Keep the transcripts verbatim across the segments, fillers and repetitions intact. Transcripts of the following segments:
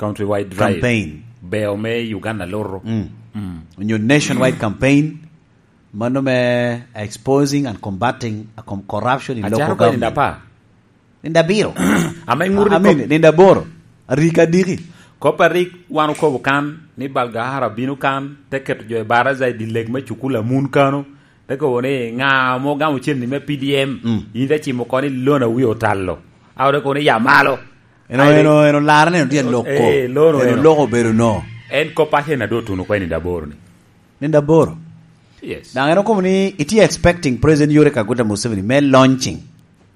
Countrywide drive. Campaign. Beo me Uganda loro. Mm. Mm. Onyo nationwide campaign, mano me exposing and combating a com-, corruption in local government. Acaro kwe nindo apar. Nindo abiro. Ame ŋut I mean, nindo aboro. Arik adiki. Kop a rik wan okobo kan ni Balgahara bino kan, te keto jo i baraza i dye leg me cukul amun kano, te kobo ni, "Ŋa ame ogamo cen-ni me P D M? Mm. In te cimo oko ni lona wi otalo." A ote kobo ni, "Ya malo." Eno, eno, eno, lara neno tye loko. Eh, lono eno. Eno loko obedo no. En kop a cen ado tuno kwe nindo aboro ni. Nindo aboro? Yes. Daŋ en okobo ni itye expecting President Yoweri Kaguta Museveni me launching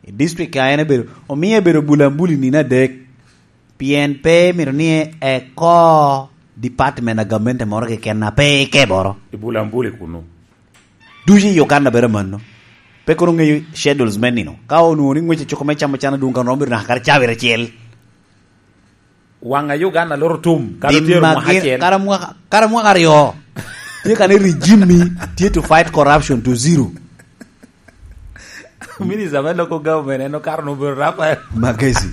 i district ka en ebedo, omie ebedo bulambuli nino adek, pien pe mito ni eko department a gamente moro keken a pe ikeboro. I bulambuli kunu. Ducu i Uganda bedo amanno. Pe kono ŋeyo schedules me nino. Ka onwoŋo ni ŋwec ecoko me camo can adwoŋ kan romo bedo naka kare cabit acel. Waŋ a Uganda loro tum, kara tye mwaka acel. Kara mwaka, kara mwaka aryo. Tye ka ni regime ni tye to fight corruption to zero. Minister me local government en okato nobero Rafael Magezi.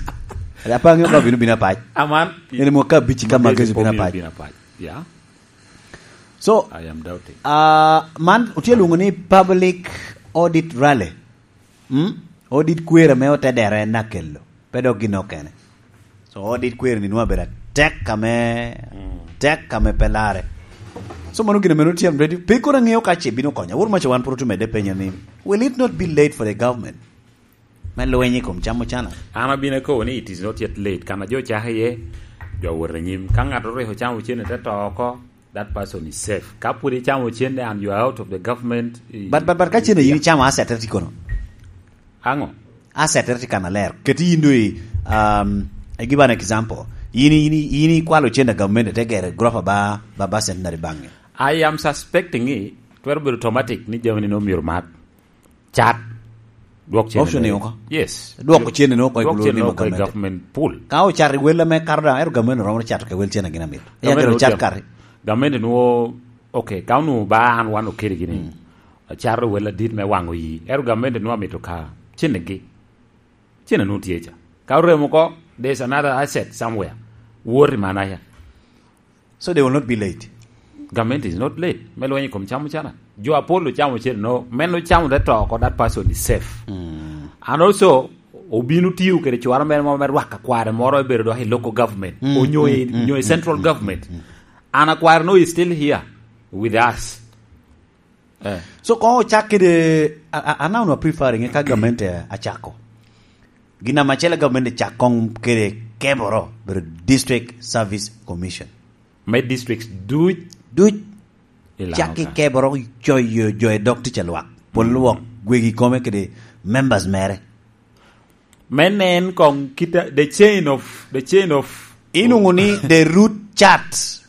Apa ŋeo ka bino bino apac. Aman. En mo ka bici ka Magezi bino apac. Bino apac. Yeah. So, I am doubting. Ah, man otye lwoŋo ni public audit rally. Mm? Audit kwero ame otedere en akelo. Pe dok gin okene. So, audit kwero ni nwa bedo atek ame, mm, tek ame pe lare. So, mano gin ame notye ready. Pe kono aŋeo ka ce bino konya. Wor maca wan puro tumede penyo ni, will it not be late for the government? Me lweny i kom camo cana. An abino akobo ni it is not yet late. Kan a jo cako iye, jo awot anyim. Ka ŋat oriko camo cene te to oko, that person is safe. Ka pwod icamo cene and you are out of the government, i- But, but, but ka cene yin icamo asset tye kono. Aŋo? Asset tye kan aler. Keti yin do i, um, I give an example. Yin, yin, yin ikwalo cene a government te gere grofa ba, ba, ba Centenary Bank. I am suspecting it, twero bedo automatic ni jami ni omyero mat. Cat. Dwok cene option ni oko? Yes. Dwoko cene ni oko i government pool. Ka ocat i wel ame kato daŋ, ero government romo cato ke wel cene gin amit. Ero cat kare. Government nwo, okay, ka onwo ba an wan okedi gini. Mm. Acato wel adit me waŋo yi. Ero government nwo amito ka cene gi. Cene nwo tye ca. Ka oremo ko, there's another asset somewhere. Woti manaya. So they will not be late. Government is not late. Me lweny i kom camo cana. Jo apol ocamo cene no, men ocamo te to oko, that person is safe. Mm. And also, obino tiyo kede cwara mere mo me rwaka kware moro ebedo dok i local government. Mm, onyo i, mm, mm, onyo i central government. Mm, mm. And akware no is still here with us. Eh. So, koŋ ocak kede, a, a, anawno preferring ka government, eh, acako. Gin ame acel government cak koŋ kede keboro, bedo District Service Commission. Me districts duc. Duc. Cak i keboro coyo jo i dog tic a lwak. Pol lwok gwegi kome kede members mere. Me nen koŋ kita, the chain of, the chain of Inwoŋo ni the root chart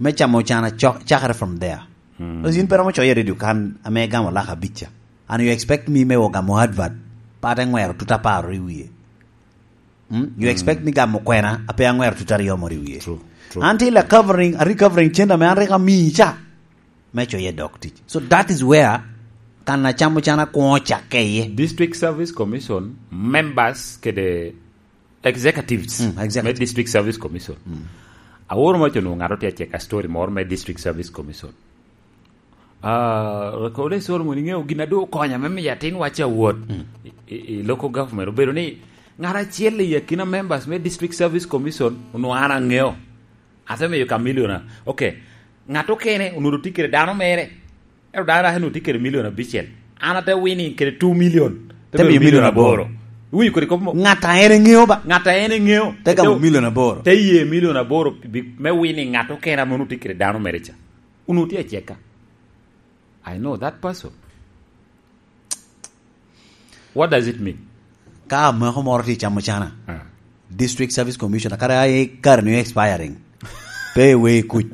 me camo cana cok-, cakere from there. Mm. Because yin pe romo coyo i radio kan ame igamo lak abic ca. And you expect me me ogamo advert, pat eŋwero tut apar i wie. Mm? You expect me gamo kwena, ape aŋwero tut aryo moro i wie. True, true. Until a covering, a recovering cente ame an rik amii ca. Me coye dok tic. So that is where kan a camo can akwoŋo cakke iye. District Service Commission members kede executives, mm, executive, me District Service Commission. Mm. Aworo maco onwoŋo ŋat otye acek a story moro me District Service Commission. Ah, Rekode Solomon, iŋeo gin a doŋ okonya me miyo atin wacce awot, mm, i, i, i local government. Obedo ni ŋat acel i akina members me District Service Commission onwoŋo an aŋeo. Ate miyo ka milion a-, okay. Ŋat okene onwoŋo tye kede dano mere. Ento dano dok onwoŋo tye kede milion abicel. An ate winning kede two million. Te miyo milion aboro. Iwinyo kodi kop mo? Ŋat a en eŋeo ba. Ŋat a en eŋeo. Te gamo milion aboro. Te ye milion aboro bi-, me winning ŋat okene ame onwoŋo tye kede dano mere ca. Onwoŋo tye aceka. I know that person. What does it mean? Ka amako moro tye camo cana, ah, District Service Commissioner, kara ai kare ni expiring. Pe we kuc.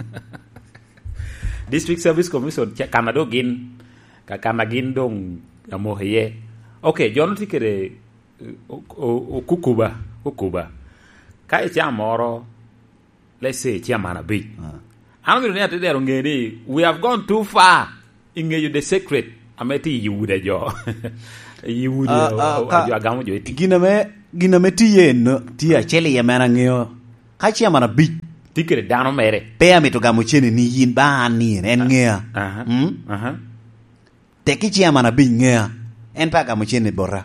District Service Commission, ca-, kana do gin, ka-, kana gin dong amoko iye. Okay, jo no tye kede, o-, o-, okukuba, okuba. Ka icamo moro, let's say, chairman abic. Ah. An omito ni atedero ŋe ni, we have gone too far i ŋeyo the secret ame tye i udi a jo. I udi a, a, a jo agamo jo i tic. Gin ame, gin ame tye en, tye acel iye mere aŋeo. Ka chairman abic, Tye kede dano mere. Pe amito gamo cene ni yin ba an ni en, en ŋea. Aha. Mm? Aha. Tek i chairman abic ŋea. En pe agamo cene bota.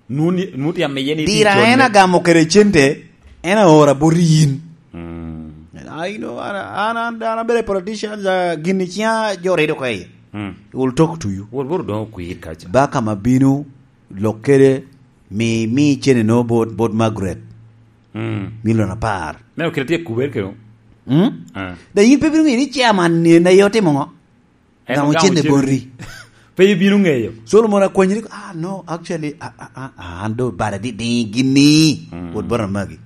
Nun, nun tye amiye ni Dira tye en cone. Agamo kede cente, en aora bot yin. Mm. I know, an, an, an, an abedo a politician, uh, gin i ciŋa jo redo ko iye. Mm. Will talk to you. Wot, wot odongo kwir kaca. Ba ka ma bino, lok kede, mi, mi cene no bot, bot Margaret. Mm. Milion apar. Neno kite tye kuber kede. Mm? Ah. Da yin pe bino ŋeyo ni chairman ni en aye otimo ŋo? En Gamo ogamo cene cene. Boti. Pe ibino ŋeyo. Solomon akwanyi ni, "Ah, no, actually, ah, ah, ah, ah, an do bada di di gini." Mm. Wot bot amagi.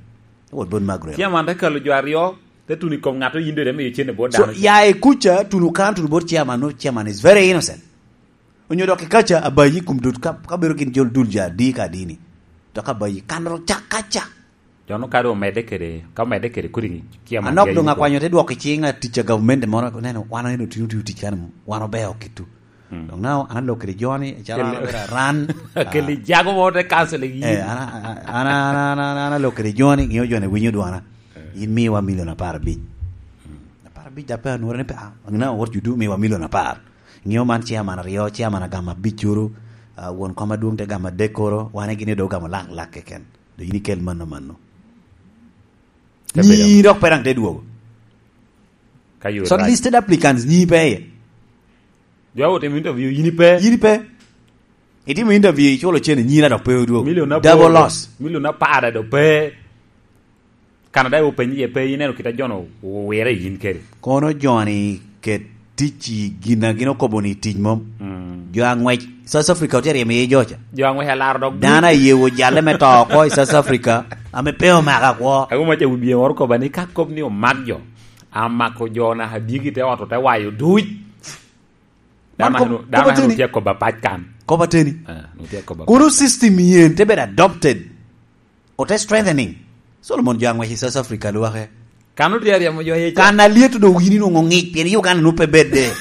Wot bot Margaret. Chairman te kalo jo aryo, te tuno i kom ŋat oyindo, te miyo cene bot So, dano. Ya i kuca, tuno kan, tuno bot chairman, no, chairman is very innocent. Onyo dok i kaca, abayi kum dut ka, ka bedo gin jol dul ja di ka dini. Dok abayi, kan ro ca kaca. Jono kadi omedde kede, ka omedde kede kodi kia Anok man doŋ akwany ote dwoko i ciŋ atic a gavumenti moro, neno, wan aneno otino tio tic kan, wan ober oketo. Mm. Doŋ nao, an alok kede joni, calo an Kele- abedo aran. Kele jago mo te counseling yin. Eh, an, an, an, an, an, an alok kede joni, ŋeo joni winyo dwana. Eh. In miwa milion apar abic. Mm. Apar abic da pe anwore ni pe, ah, now what you do, miwa milion apar. Ŋeo man chairman aryo, chairman agamo abic oro, ah, won kom adwoŋ te gamo adek oro, wane gini do gamo lak, lak keken. Do yin ikel mano, mano. Te bedo. Nyi dok pe daŋ te dwogo. Ka yo Shortlisted applicants nyi pe iye. Jo a otimo interview, yin ipe. Yin ipe. Itimo interview, iculo cene, nyi dok pe odwogo. Milion aboro. Double loss. Milion apar do pe. Canada openyi iye pe, ineno kit a jono owire yin kede. Kono joni ket tic i gin a gin okobo ni tic mom. Mm. Jo aŋwec South Africa otye ryemo iye joca. Jo aŋwec alaro dok Dano aye wo jalle me to oko i South Africa, ame pe omaka kwo. Ago maca wi bie moro koba ni ka kop ni omak jo, amako jo naka dyegi te ot ote wayo duc. Dano Man kop-, anu-, dano kop ateni. Anu tye koba pac kan. Kop ateni. Ah, nu tye koba Kono pac kan. System yen te bedo adopted. Ote strengthening. Solomon jo aŋwec i South Africa lwake. Kan otye aryemo jo iye ca. Kan alyet do wini nwoŋo ŋic, pien Uganda nwoŋo pe bedde.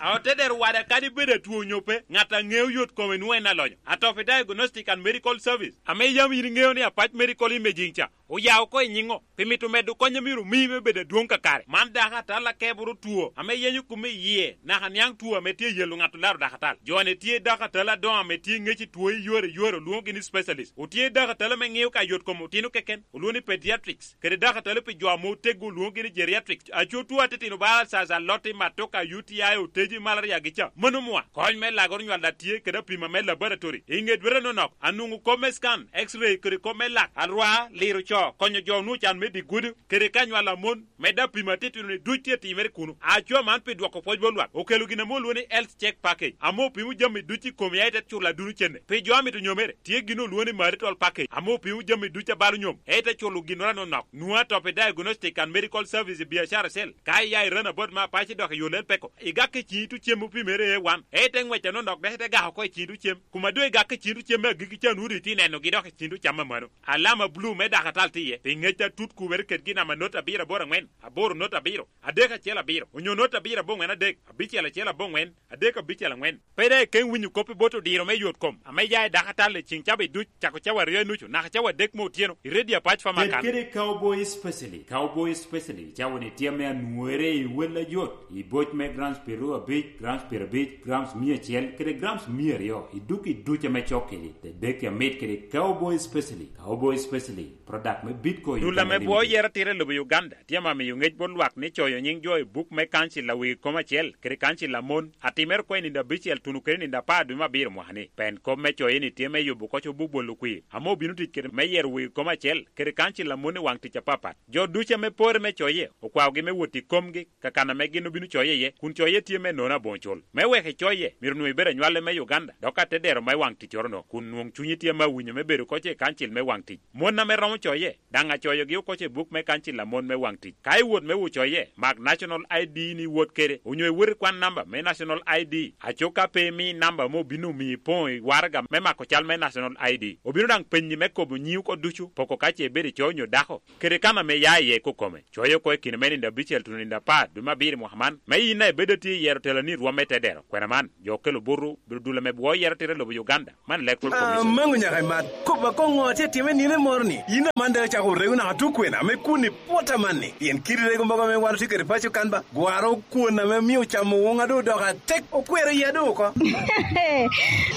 A ote dero wada kadi bedo atwo onyo pe, ŋat a ŋeo yot kome nwoŋo en alonyo. Atop i Diagnostic and Medical Service, ame yam yin iŋeo ni Apac Medical Imaging ca, oya oko i nyiŋo, pi mito medo kony a myero omi me bedo adwoŋ kakare. Man dakatal akeboro two, ame yenyo kome i yie, naka niaŋ two ame tye yelo ŋat olaro dakatal. Jo-ni tye dakatal adoŋo ame tye ŋec i two i yore i yore, olwoŋogi ni specialist. Otye dakatal ame ŋeo ka yot kom otino keken, olwoŋo ni pediatrics, kede dakatal pi jo ame oteggo, olwoŋogi ni geriatrics. Aco two atitino bala alsas, alotti, matoka, U T I, oteji, malaria gi ca. Mano mwa. Kony me lagoro nywal a tye kede apima me laboratory. I ŋe dwete nonok, anwoŋo kop me scan, X-ray, kede kop me lak, alwar, liro co, konyo jo onwoŋo can me dye gudo, kede ka nywal a mon, medde apima atitino-ni duc tye timere kuno. Aco man pi dwoko pwoc bot lwak, okelo gin ame olwoŋo ni Health Check Package, ame opimo jami duc i komi, aye te culo aduno cene. Pi jo a mito nyomere, tye gin olwoŋo ni Marital Package, ame opimo jami duc a balo nyom, aye te culo ginnoro anonok. Nwoŋo atop i Diagnostic and Medical Service i biacara acel. Ka iya i Ranabat me Apac dok i yo Lel Peko, igak i ciŋ itu cem opimere A one, aye te ŋwec anonok dok ite gako oko i ciŋ itu cem. Kuma doŋ igak i ciŋ itu cem me agikki ca, nwoŋo doŋ itye nenogi dok i ciŋ itu cam amano. Alama bulu me dakatal tye iye, pi ŋec atut kubere kedgi namba not abiro aboro aŋwen, aboro not abiro, adek acel abiro, onyo not abiro aboŋwen adek, abicel acel aboŋwen, adek abicel aŋwen. Pe daŋ ikeŋ winyo kop i bot odiro me yot kom, ame ya i dakatal i ciŋ cawa duc, cako cawa aryo i nucu, naka cawa adek me otyeno, i Radio Apac Pharmacan. Kede Cowboy Specialist. Cowboy Specialist, cawa-ni tye ame anwore i wel ayot, i boc me grams pyeraryo abic, grams pyerabic, grams mia acel, kede grams mia aryo, i duk i duc ame cok kede, te dek amit kede Cowboy Specialist. Cowboy Specialist, product me Bitco Dul ame Uganda bwo Limited. Yero tira i lobo Uganda, tye ame amiyo ŋec bot lwak ni coyo nyiŋ jo i buk me kancil a wegi kom acel, kede kancil a mon, atimere oko i nino abicel tuno kede nino apar dwe me abiro mwaka-ni. Pen kop me coye-ni tye me yubo koc obuk bolo kwir, ame obino tic kede me yero wegi kom acel, kede kancil a mon i waŋ tic apapat. Jo ducu ame pore me coye, okwaogi me wot i komgi, kakan ame gin obino coye iye, kun coye tye me nono aboŋo cul. Me wek icoye, myero onwoŋo ibed anywale me Uganda, dok atedero me waŋ ticcoro-no, kun nwoŋ cunyi tye me awinyo me bedo koc i kancil me waŋ tic. Mon ame romo coye, daŋ acoyogi oko i buk me kancil a mon me waŋ tic. Ka iwot me wot coye, mak National I D ni iwot kede, onyo iwot ikwan namba me National I D. Aco ka pe imi namba ame obino omiyo ipoŋo i waraga me mako cal me National I D. Obino daŋ penyi me kobo nyiŋi oko ducu, poko ka ce ibedo ico onyo dako, kede kan ame ia iye kokome. Coye oko i kine me nino abicel tuno nino apar dwe me abiro mwaka man, me yin a ibedo atye i yero teloni i rwom me tedero. Kwena man, jo okelo butu, bedo dul ame bwo yero tira i lobo Uganda. Man Electoral Commission. Amango nyaka i mat. Kop akoŋ ŋo atye atime nino moro-ni? Yin aman Dok acako rego naka tukwena me kun i pwota manni, pien kit rego mogo ame wan otye kede paco kan ba, gwaro kwon ame omio camo woŋa doŋ odoko atek, okwero iya doŋ oko.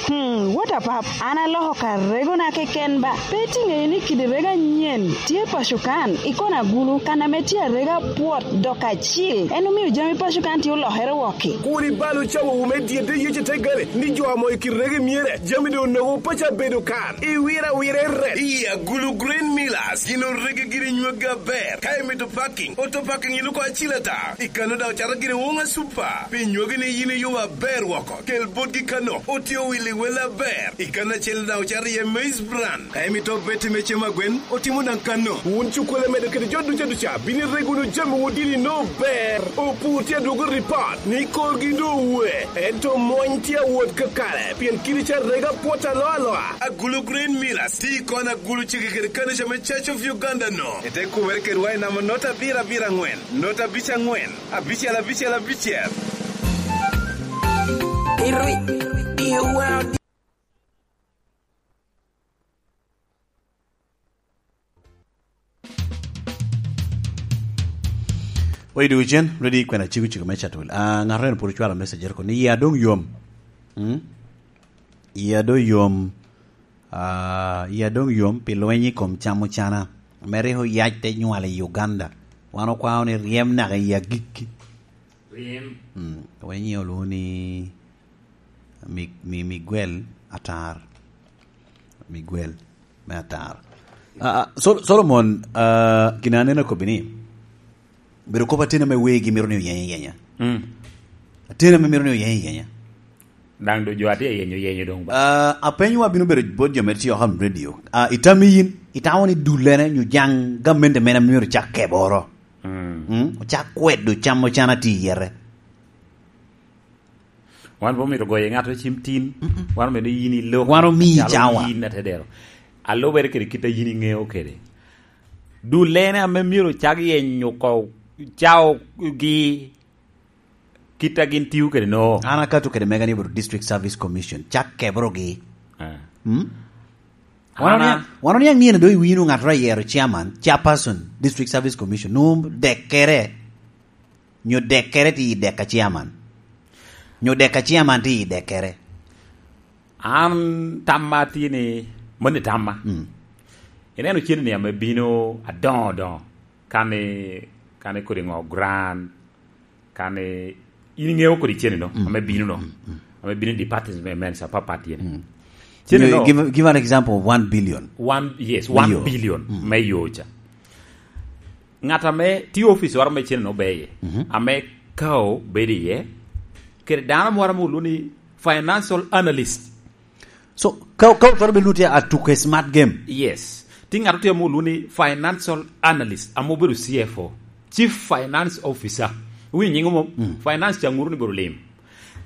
Hmm, what a pap. An aloko ka regona keken ba. Pe iti ŋeyo ni kidi rego anyen tye paco kan, i kona agulu, kan ame tye arega pwot dok acil. En omio jami paco kan tye olokere wok-ki. Kur ibal ocawowu me dyedde Yecu te gale, ni jo amo i kit rego myere, jami doŋ onogo paco abedo kan. I wira wira i ret. I agulu Green Millers, gin orege giri nywaggi aber. Ka imito parking, auto parking iluko acil ata. I kano daŋ ocato giri woŋa super. Pi nywagi ni yin iyubo aber woko. Kel botgi kano, otye owili wel aber. I kano acel daŋ ocato iye maize bran. Ka imito beti me cem agwen, otimo daŋ kano. Wun cukkole medo kede jo duca duca, bino irego wunu jami wun dini no ber. Opur tye adwogo ripot, ni korgi doŋ owe. Ento mony tye awot kakare, pien kidi ca rega pwot aloa aloa. Agulu Green Millers, ti kon agulu cege kede kanica me Church of Uganda no. Ete kumere kedwa i namba nota abiro abiro angwen, nota abic angwen, abicel abicel abicel. Oye duk cen, ready kwena ciko ciko me catwil. Ah, ŋato en pwod ocwalo message ko ni ya dong yom. Hmm? Ya dong yom. Ah, ya dong yom pi lweny i kom camo cana. Mere oyac te nywal i Uganda. Wan okwao ni ryem naka i agikki. Ryem. Mm, weny olwoŋo ni Mi-, Mi-, Miguel Atar. Miguel me Atar. Ah, ah, Sol-, Solomon, ah, gin aneno akobbi ni, bedo kop ateni ame wegi mito ni oyenye yenya. Mm. Ateni ame mito ni oyenye yenya. Daŋ do jo atye yenyo, yenyo doŋ ba. Ah, apenyo wa bino bedo bot jo me tio ham radio. Ah, itami yin, itamo ni dulene nyo jaŋ gamente mene ame myero cak keboro. Mm. Mm? Ocak kwedo camo cana ti yere. Wan pe omito goyo ŋat cim tin. Mm-mm. Wan omito yin ilok. Wan omiyi cawa. Yin atedero. Alubere kede kit a yin iŋeo kede. Dulene ame myero ocak yenyo oko caogi kit a gin tio kede no. An akato kede mega ni obedo District Service Commission. Cak kebrogi. Ah. Mm? Wan oniaŋ, wan oniaŋ ni en do iwinyo ŋat oyero chairman, chairperson, District Service Commission. Nwoŋo dekkere. Nyo dekkere ti i dek a chairman. Nyo dek a chairman ti i dekkere. An tamma tye ni, moni tamma. Mm. Ineno cen ni ame bino adoŋo adoŋo, kani, kani kodi ŋo grant, kani, in iŋeo kodi cen no, mm, ame bino no, mm, mm, ame bino i department me mensa papat yen. Mm. Cen no. Give, give an example of one billion. One, yes, one billion me yo ca. Ŋat ame tye ofice waro me cen no beye, mhm, ame kao bedo iye, kede dano moro ame olwoŋo ni financial analyst. So, ka, ka otwero bedo tye atuk a smart game. Yes. Ti ŋat otye ame olwoŋo ni financial analyst, ame obedo C F O, Chief Finance Officer. Iwinyo nying mom? Mm. Finance ca ŋuto ni bedo lim.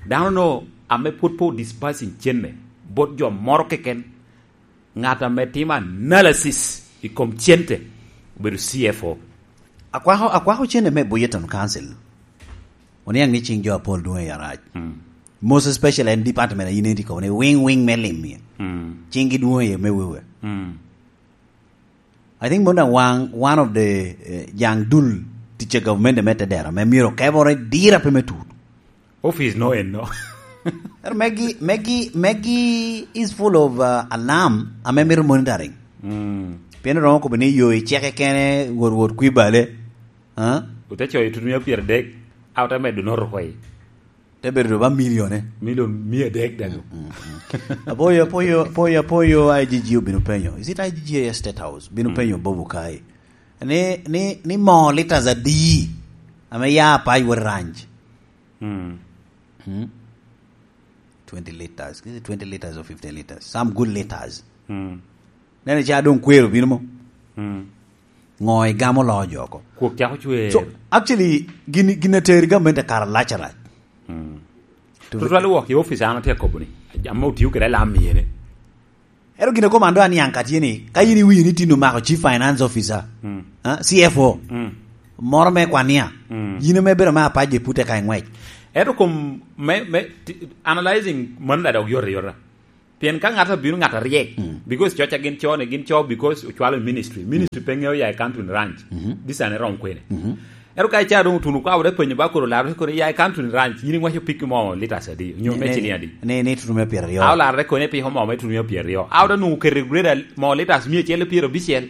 Dano no ame pwod pe dispersing cenne, bot jo moro keken, ŋat ame timo analysis i kom cente, obedo C F O. Akwako, akwako cente me Budget and Council. Oniaŋ ni cing jo apol dwoŋ i arac. Mm. Most especially en department a yin iti kobo ni wing, wing me lim ye. Mm. Cing gi dwoŋ ye me wewe. Mm. I think mano daŋ wan, one of the, eh, jaŋ dul tic a government me tedera, me myero kebore dira pe me tut. Office no en no. Ero megi, megi, megi is full of, uh, alarm, ame mito monitoring. Mm. Pien romo kobo ni yo i ceke kene, wot, wot kwi bale. Huh? Ote coyo tutumia pyeradek, a ote medo noto koi. Te bedo ba milione. Milion mia adek daŋ. Mm, mm, mm. Apoyo, apoyo, apoyo, apoyo, I G G obino penyo. Is it I G G a State House? Bino, mm, penyo Bob Okai. Ni, ni, ni moo liters adi ame ya Apac wot Ranch? Mm. Hmm? Twenty liters. Is it twenty liters or fifteen liters? Some good liters. Mm. Nene ca doŋ kwero bino mo. Mm. Ŋo igamo loo jo oko? Kwok cako cwer. So, actually, gin, gin ateri gamente kare alac alac. Mm. Tutwal wok i office an atye akobo ni, ame otio kede alam myere. Ero gin a komando aniaŋ ka tye ni, ka yin iwinyo ni tin omako Chief Finance Officer, mm, ah, C F O, mm, moro me kwania, mm, yin ame bedo me apac je pute ka i ŋwec. Ento kom me, me, ti-, analyzing mano daŋ dok yot ayota. Pien ka ŋat abino ŋat aryek, because coca gin co ni, gin co because ocwalo i ministry. Ministry pe ŋeo ya i Cantwin Ranch. Disane rom kwene. Ero ka ica doŋ otuno kwa, wot epenyo ba koro larre kono ya i Cantwin Ranch, yin iŋwaco piki mo litas adi? Nyo me ciliŋ adi? Ni, ni tuno me pyeraryo. A olarre kono ipiko mo me tuno me pyeraryo. A wot anwoŋo keto i grade mo litas mia acel i pyerabicel.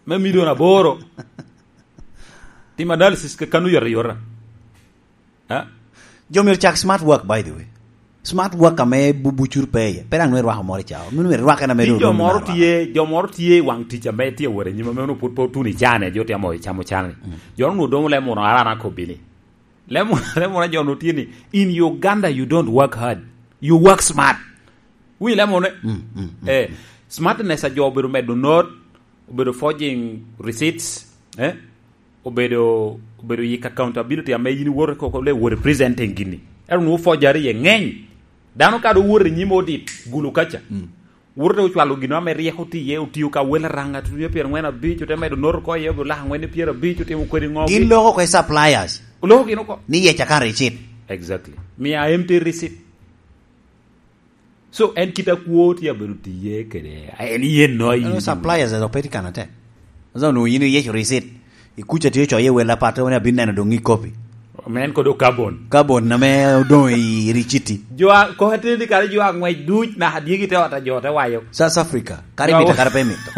Me milion aboro. Tim analysis ke kanu yota yota. Ha? Jo myero cak smart work, by the way. Smart work ame bu-, bucur pe iye. Pe daŋ nwe rwako moro i cawa. Mino myero rwake na medo. Ti jo moro tye, jo moro tye i waŋ tic ame tye wot anyim ame onwo pwod pe otuno i cane, jo tye amo i camo cane. Jo onwo domo lemo ono arana kobini. Lemo, lemo na jo onwo tye ni, in Uganda you don't work hard. You work smart. Winyo lemo ne? Eh, smartness a jo obedo medo not, obedo forging receipts, eh? Obedo, obedo yik accountability ame yin iwoto koko le wo representing gini. Ero nwo forgery ye ŋeny. Dano ka do woto i nyim odit, gulu kaca. Woto te ocwalo gino ame ryeko tye iye, otio ka wel araŋa, tutu mia pyerangwen abic, ote medo noto ko iye, obi olako angwen mia pyerabic, otimo kodi ŋo. Gin loko ko i suppliers. Oloko gino ko. Ni yec akato receipt. Exactly. Mia empty receipt. So, en kit akwo tye abedo tiye kede, en yen no. Ano, suppliers edo pe tye kan ate. Aza onwoŋo yin iyeco receipt. Ikuca tye ocoyo i wel apat, wene abin neno doŋ i kopi. Men kod o carbon. Carbon ame odoŋ i riciti. Jo a, kok ateni kare jo aŋwec duc naka dyegi te ot a jo te wayo. South Africa, kare mito, kare pe mito.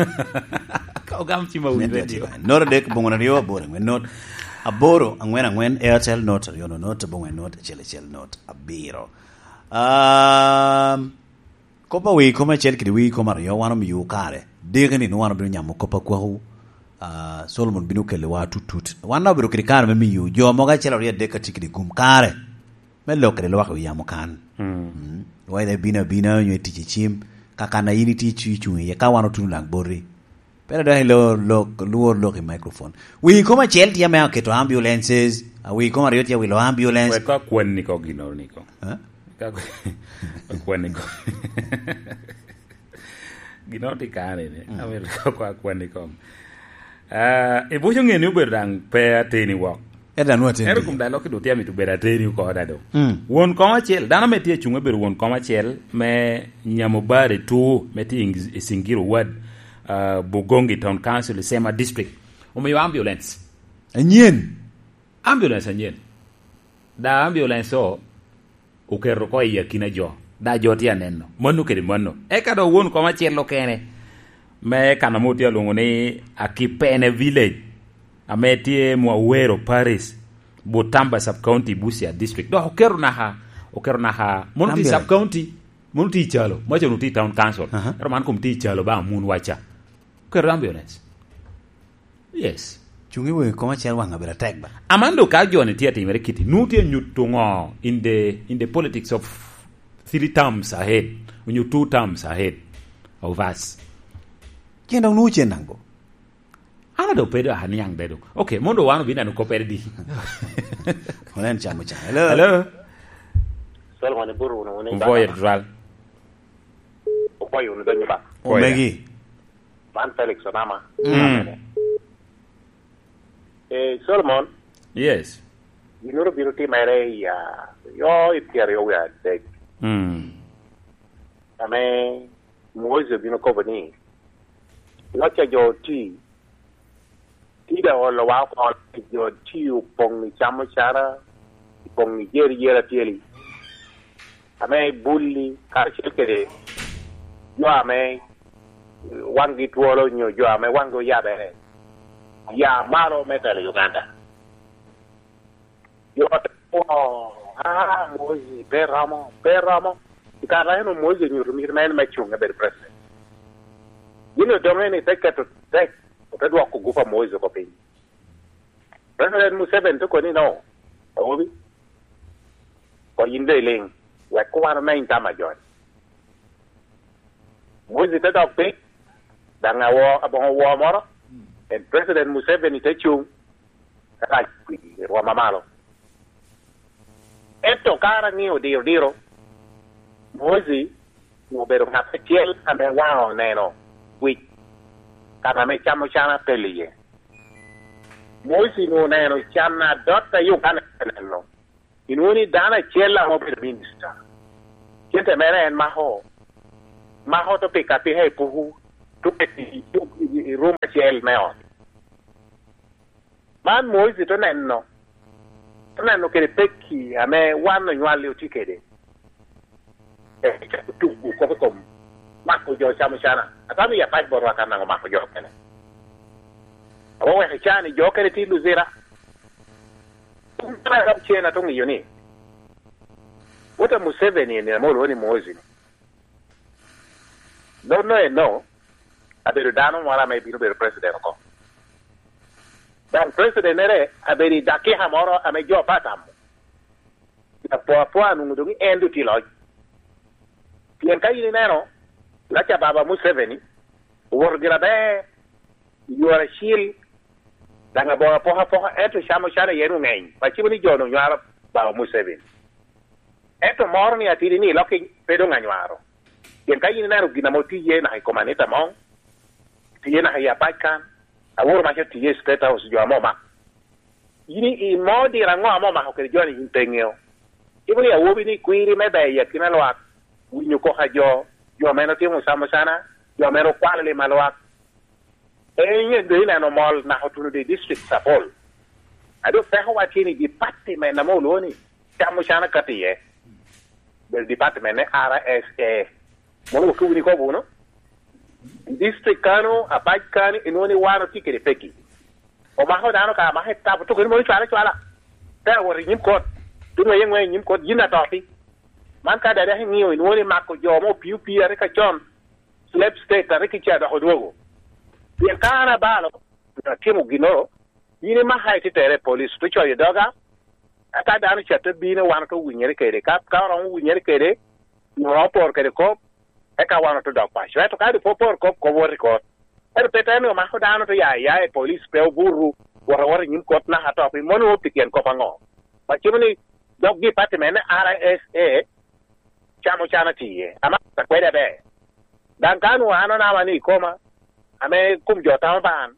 Ka ogam cim awi radio. Not adek, boŋo aryo, aboro, angwen, not. Aboro, angwen, angwen, Airtel, not, aryo, no, not, boŋo, not, acel, acel, not, abiro. Um, kop a wii kom acel kede wii kom aryo wan omiyo kare. Diki ni nwoŋo wan obino nyamo kop a kwako, ah, Solomon bino kelo wa tutut. Wan obedo kede kare me miyo jo mogo acel aryo adek ka tye kede gum kare me lok kede lwak wi yamo kan. Mm. Whether bino abina onyo tic i cim, ka kan a yin itye icu-, icuŋ iye, ka wan otuno lang boti. Pera dok ilo lok, lwor lok i microphone. Wi kom acel tye ame aketo ambulances, a wi kom aryo tye awilo ambulance. Wek akwan ni ko gino ni ko. Ha? Ka akwan ni ko. Gino tye kare ni. Mm. Amito ko akwan ni ko. Ah, ibuco ŋe ni obedo daŋ pe ateni wok. Eda nwa teni. Ero kum daŋ lok i dutya mito bedo ateni oko da do. Mm. Won kom acel, dano me tye acunge bedo won kom acel me nyamo bar i tu, me tye i Singiro Ward, ah, Bugongi Town Council, Sema District. Omiyo ambulance. Anyen. Ambulance anyen. Da ambulance o oketo oko i akina jo. Da jo tye aneno. Mano kede mano. Eka dok won kom acel okene. Me kan ame otye alwoŋo ni Akipene Village. Ame tye Mwawero Parish. Butamba Sub County, Busia District. Dok oketo naka, oketo naka. Mono tye Ambulance. Sub County. Mono tye i calo. Maca onwo tye i Town Council. Aha. Ero man kom tye i calo ba amun waca. Oketo ambulance. Yes. Cuŋ i wegi kom acel waŋ abedo atek ba. Amando ka joni tye atimere kiti, nu tye nyuto ŋo in the, in the politics of three terms ahead, onyo two terms ahead of us? Cen dok nu cen naŋ bo? An ado pedo a niaŋ dedo. Okay, mondo wan obin anu kopere di. Onen chamo cha. Hello. Hello. Solomon iburu wunu wunu. Mvoye dral. Okoyo wunu donyo ba. Omegi. Man Felix Onama. Mm. Eh, Solomon. Yes. Gin oro bino timere i, ah, yo i pyeraryo wie adek. Mm. Ame Moses obino kobo ni, loc a jo oti, tida olowa oko, jo oti opoŋ i camo cara, opoŋ i jeri jeri atyeli. Ame bulli, karacel kede jo ame waŋgi twolo nyo jo ame waŋgi oyabere, ya malo me telo Uganda. Jo te kwo, "Ah, Mosi, pe romo, pe romo." I kare eno Mosi onyuto mito mere en me cuŋ ebedo president. Gin odoŋe ni te keto tek, ote dwoko gupa Mosi oko piny. President Museveni te koni, "No, awobi, ko yin doŋ iliŋ, wek wan omeny tam a joni." Mosi te dok piny, daŋ awo, aboŋo woo moro, en President Museveni te cuŋ, te rac kwir i rwom amalo. Ento ka an aŋeo diro diro, Mosi obedo ŋat acel ame waŋe oneno wic, kan ame camo can apel iye. Mosi oneno can adot a Uganda te neno. Inwoŋo ni dano acel ame obedo minista. Cente mere en mako, mako to pika apika i puku, to keto i, i, i rum acel me ot. Man Moizi to neno, to neno kede pekki ame wan onywalli otye kede. E, tugo kop i kom mako jo camo cana. Atamo i apac botwa kan daŋ omako jo okene. Ame oweko i caa-ni jo okene tye i Luzira. Kun dano a rab cen ate ŋeyo ni, wot a Museveni eni ame olwoŋo ni Moizi-ni, nonno eno abedo dano moro ame bino bedo president oko. Daŋ president-nere abedo i dakika moro ame jo pe atamo. Apoapoa nwoŋo doŋ en doŋ tye i loc. Pien ka in ineno, laca baba Museveni owoto gire aber, i yore acil, daŋ aboŋo apokapoka, ento camo cana iye onwoŋo ŋeny. Acimo ni jo onwoŋo nywaro baba Museveni. Ento moro ni atidi ni lok pe doŋ anywaro. Pien ka in ineno gin ame otye iye naka i kom Anita Among, tye naka i apac kan, aworo maca tye i State House, jo ame omako. In i-, imo diro aŋo ame omako kede jo-ni in pe iŋeo? Cimo ni awobi ni kwiri me ber i akina lwak, winyo koko a jo, jo ame otimo camo cana, jo ame okwalo lim a lwak. En yen doŋ ineno mol naka otuno di districts apol. A doŋ pekowa tye ni department ame olwoŋo ni camo cana kato iye. Bedo department me R S A. Mono wakiwu ni kobo wunu. District kano, apac kano, inwoŋo ni wan otye kede pekki. Omako dano ka, amako i tabo, tuko ni mono cwala cwala. Te awot i nyim kot. Tuŋ aye ŋwe i nyim kot, yin atoti. Man ka dada iŋeo, inwoŋo ni mako jo mo opii opii a rik acon, slave state a rik ica dok odwogo. Pien ka an abalo, atimo ginnoro, yin imaka ititere i police, te coyo doga, aka dano ca te bino, wan ote winyere kede. Ka, ka oromo winyere kede, oromo poro kede kop, eka wan ote dok paco. Ento ka doŋ pe oporo kop, kop wot i kot. Ento pe te ni omako dano, te ya aya i police, pe obuto, wot awot i nyim kot naka to, pi mono pi tyen kop aŋo? Acimo ni dog department me R S A camo cana tye iye. Amako akwede aber. Daŋ ka nwoŋo an onama ni i koma, ame kom jo tamo ba an,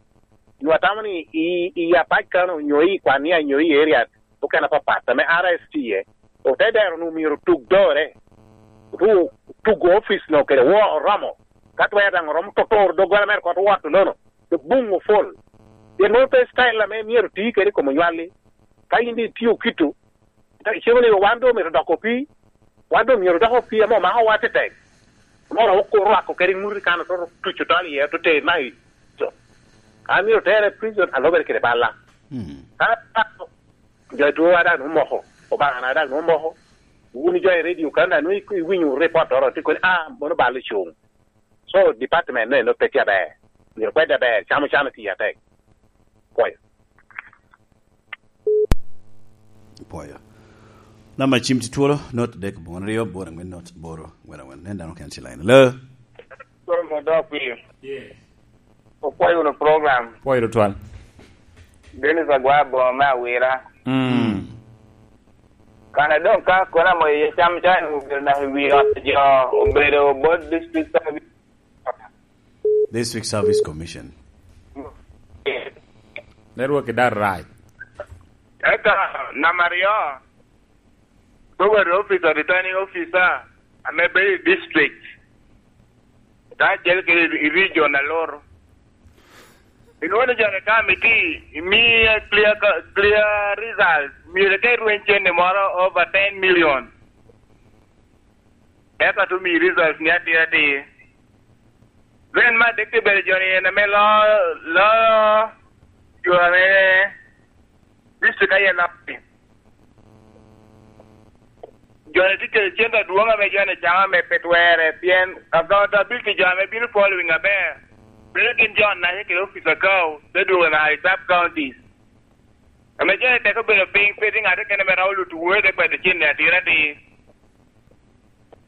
nwoŋo atamo ni i, i apac kano, nyo i kwania, nyo i area okene apapat, ame R S tye iye, ote dero ni omyero otug dore, otu-, tugo office no kede wo oromo, ka twero daŋ oromo totoro doggola mere kot wot nono, to buŋ opol. Pien mono pe style ame myero oti kede i kom onywalli. Ka in itio kito, icemo ni wan doŋ omyero odok opii, wan doŋ myero odok opii ame omako wa tetek. Moro oko rwako kede ŋuti kan oto tuco tol iye, oto ter naka i co. Ka myero tere i prison, alobere kede balla. Mm. Ka jo i twowa daŋ nwoŋo moko, Obaŋa na daŋ nwoŋo moko. Wun jo i radio kan daŋ nwoŋo iku-, iwinyo report oro, tye koni, "Ah, mono bal ocuŋ." So, department no eno pe tye aber. Myero kwedde aber, camo cana tye atek. Pwoyo. Pwoyo. Namba cim tye twolo, not dek bongone aryo, boro angwen not, boro angwen angwen. Nen dano kene tye line. Hello? Solomon dok piny. Yes. Opwoyo wunu program. Pwoyo tutwal. Dennis Agwa Boma me Awira. Mm. Kana doŋ ka kono amo iye cam ca obedo naka i wi ot jo, obedo bot district service. District Service Commission. Network i dar rac. Eka namba aryo, Poverty Officer, Returning Officer, ame bedo i district, ka acel kede i region a Loro. Inwoŋo ni joni ka miti, imiye clear, clear results, myero ite rweny cente moro over ten million. Eka te omi results ni atir atir. Then ma dek te bedo joni en ame lo, lo, jo ame district aye lo. Joni tye kede cente adwoŋ ame joni camo ame pe twerre, pien accountability jo ame bino following aber, bedo gin jo naca kede officer kao, te dwogo naka i sub counties. Ame joni tek obedo piny, pe tye ŋat kene ame romo luto wunu te kwedo cente atir atir.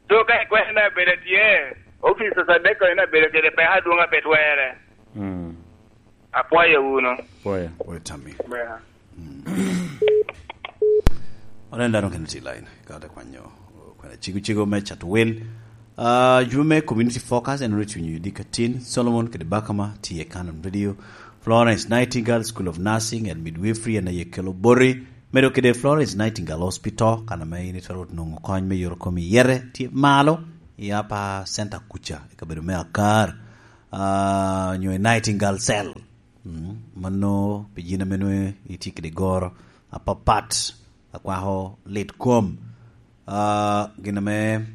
So ka ikwena abedo tye, officer Sadeko en abedo kede peko adwoŋ a pe twerre. Mm. Apwoyo wunu. Pwoyo. Pwoyo tammi. Bwera. Mm. Onen dano kene tye line, ka te kwanyo, kwena cigo cigo me cato wel. Ah, jube me Community Focus en ru cunyo yudi katin, Solomon kede Bakama tye i Canon Radio, Florence Nightingale School of Nursing and Midwifery en aye kelo boti, Medo kede Florence Nightingale Hospital, kan ame in itwero nwoŋo kony me yot kom i yete, tye malo i Upper Center kuca, i kabedo me Akar, ah, onyo i Nightingale Cell. Mm, mano pi gin ame nwoŋo itye kede goro apapat, akwako lit kom. Ah, gin ame,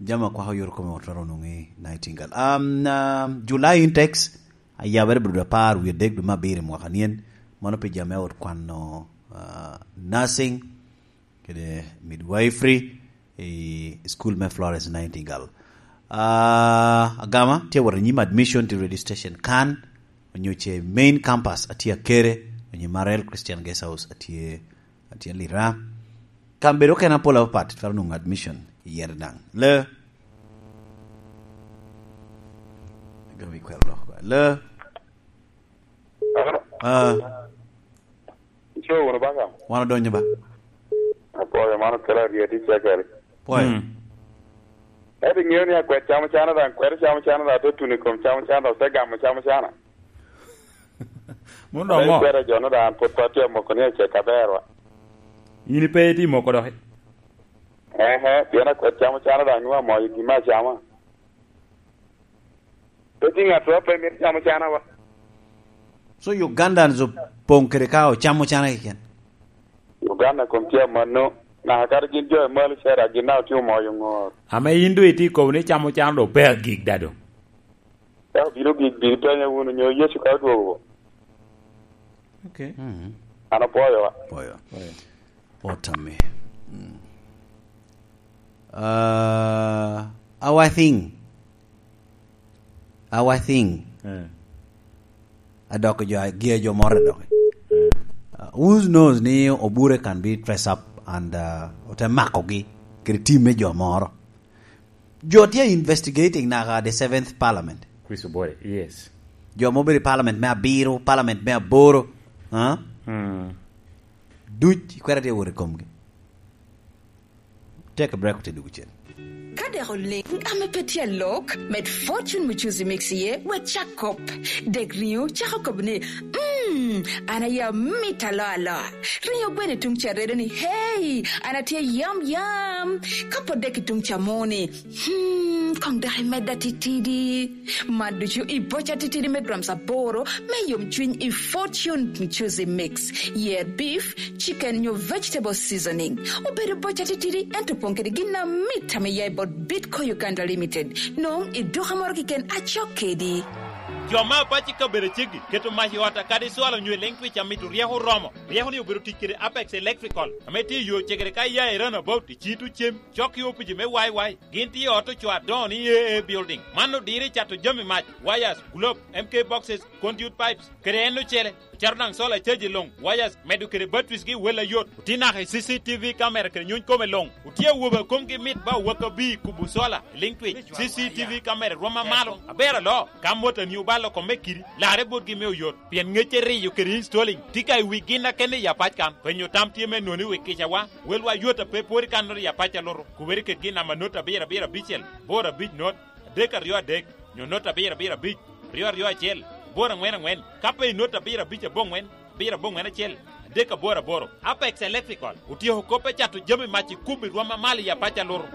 jami akwako yot kom otwero nwoŋo i Nightingale. Um, ah, July intakes, ayabere bedo apar wie adek dwe me abiro i mwaka nyen. Mano pi jami ot kwano, ah, nursing kede midwifery i school me Florence Nightingale. Ah, agama, tye wot i nyim admission to registration kan, onyo ce main campus atye Akere, onyo Marel Christian Guest House atye, atye Lira. Kan bedo kena pol apapat, twero nwoŋo admission i yere daŋ. Le. Agama ikwero lok kwa. Le. Ah. Ico wunu baka? Wan odonyo ba. Apwoyo, man okelo aryet i cakere. Pwoyo. Mm. Ento iŋeo ni akwed camo cana daŋ, kwed camo cana daŋ, te tuno i kom camo cana daŋ, te gamo camo cana. Mano doŋ Ame mo. Ikwero jo no daŋ, pwod pe atye amoko ni acek aberwa. In pe itye moko doki? Ehe, pien akwed camo cana daŋ, nwoŋo amoyo gin me acama. Pe tye ŋat a pe mito camo cana wa. So Ugandans opoŋ kede ka ocamo cana keken? Uganda kom tye amanno. Naka kadi gin jo i malo cera, gin daŋ otye omoyo ŋor. Ame in doŋ itye kobo ni camo cana doŋ pe agik da doŋ. Ka obino gik, bino penya wunu, nyo Yecu ka odwogo. Okay. Mm. An apwoyo wa. Pwoyo. Pwoyo. Otami. Mm. Uh, our thing. Our thing. Eh. Adok jo, gia jo moro adok. Eh. Uh, who knows ni Obure can be dress up and, uh, ote makogi kede team me jo moro. Jo tye investigating naka the seventh parliament. Chris Obore, yes. Jo ma obedo i parliament me abiro, parliament me aboro, ha? Hmm. Duc ikwero tye wot i komgi. Take a break, ote dugo cen. Ka dek oleŋ ame pe tye alok, med Fortune Muchuzi Mix iye, wek cak kop. Dek riŋo cako kop ni, "Mm, an aye amit aloa aloa." Riŋo gweno i tuŋ ca redo ni, "Hey, an atye yam yam." Ka pwod dek i tuŋ ca mo ni, "Hmm, koŋ dok imedda titidi." Man ducu i boca titidi me grams aboro me yomcwiny i Fortune Muchuzi Mix. Yer beef, chicken nyo vegetable seasoning. Obedo boca titidi, ento opoŋ kede gin amit ame ya i bot Bitco Uganda Limited. Nwoŋ i duka moro keken acok kedi. Jo me apac i kabedo aceggi keto mac i ot a kadi cwalo nyo i leŋ twic amito ryeko oromo. Ryeko ni obedo tic kede Apex Electrical, ame tye i yo cegere ka iya i Runabout i Cito Cem, cok i opici me Y Y. Gin tye i ot ocoo adoŋo ni A A Building. Man odiro i cato jami mac, wires, globe, M K boxes, conduit pipes, kede en ocele. Ocato daŋ solar charge luŋ, wires, medo kede batteries gi wel ayot. Otye naka i C C T V camera kede nyuny kome luŋ. Otye awobe a komgi mit ba owaka bi kubo solar, liŋ twic, C C T V camera rwom amalo. Aber alo, ka motani obalo kome kidi, larre botgi me oyot. Pien ŋecce riyo kede installing tye ka i wi gin a kene i apac kan. Penyo tam tye me noni wi kicawa, welwa yot a pe pwod i kan noti i apac a luto. Kubere kede gin namba not abiro abiro abicel, boro abic not, adek aryo adek, nyo not abiro abiro abic, ryo aryo acel, boro aŋwen aŋwen, ka pe i not abiro abic aboŋwen, abiro aboŋwen acel, adek aboro aboro. Apex Electrical otyeko kop me cato jami mac i kum i rwom amalo i apac a luto.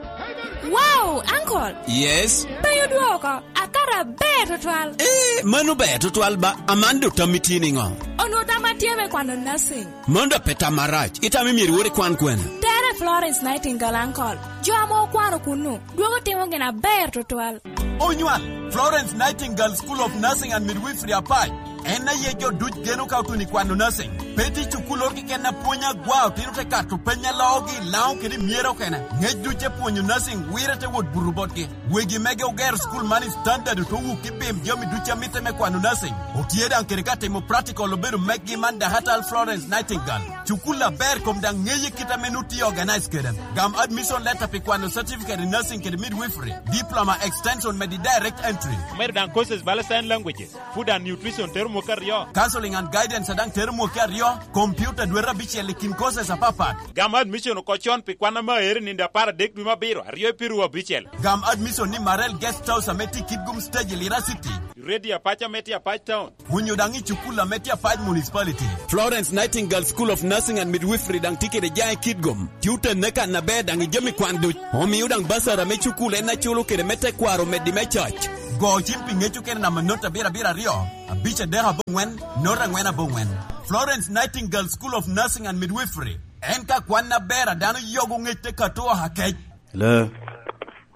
Wow, Uncle! Yes? Pe odwoko, akato aber tutwal. Eh, mano ber tutwal ba, aman do tammi tye niŋo? Onwo tamma tye me kwano nursing. Mano da pe tam marac, itamo myero iwot ikwan kwene? Tere Florence Nightingale, Uncle. Jo ame okwano kunnu, dwogo timo gin aber tutwal. Onywal, Florence Nightingale School of Nursing and Midwifery Apac. En aye jo duc geno ka otuno i kwano nursing. Pe tye cukulloro keken a pwonyo agwa, otino te kato peny a loogi i Laŋo kede i Myera okene. Ŋec duc te pwonyo nursing wirre te wot buto botgi. Wegi mege ogero cukul man i standard, ote wuk i bim jami duc a mitte me kwano nursing. Otye daŋ kede ka timo practical obedo meggi man Dahatal Florence Nightingale. Cukul aber kom daŋ ŋeye kit ame nut tye organize kede. Gam admission letter pi kwano certificate in nursing kede midwifery, diploma, extension, medi direct entry. Omedo daŋ courses bala sign languages, food and nutrition tero mwaka aryo. Counseling and guidance daŋ tero mwaka aryo, computer dwete abicel i kin courses apapat. Gam admission oko con pi kwan ame aero i nino apar adek dwe me abiro, aryo i piru abicel. Gam admission ni Marel Guest House ame tye i Kitgum Stage i Lira City. Ready Apac ame tye Apac Town. Onyo daŋ i cukul ame tye Apac Municipality. Florence Nightingale School of Nursing and Midwifery daŋ tye kede jaŋ i Kitgum. Tye otenne kan aber daŋ i jami kwan duc. Omio daŋ basara me cukul en aculo kede me tekwaro meddi me coc. Go cim pi ŋec okene namba not abiro abiro aryo, abic adek aboŋwen, not angwen aboŋwen. Florence Nightingale School of Nursing and Midwifery. En ka kwan aber a dano yogo ŋec te kato oha kec. Hello.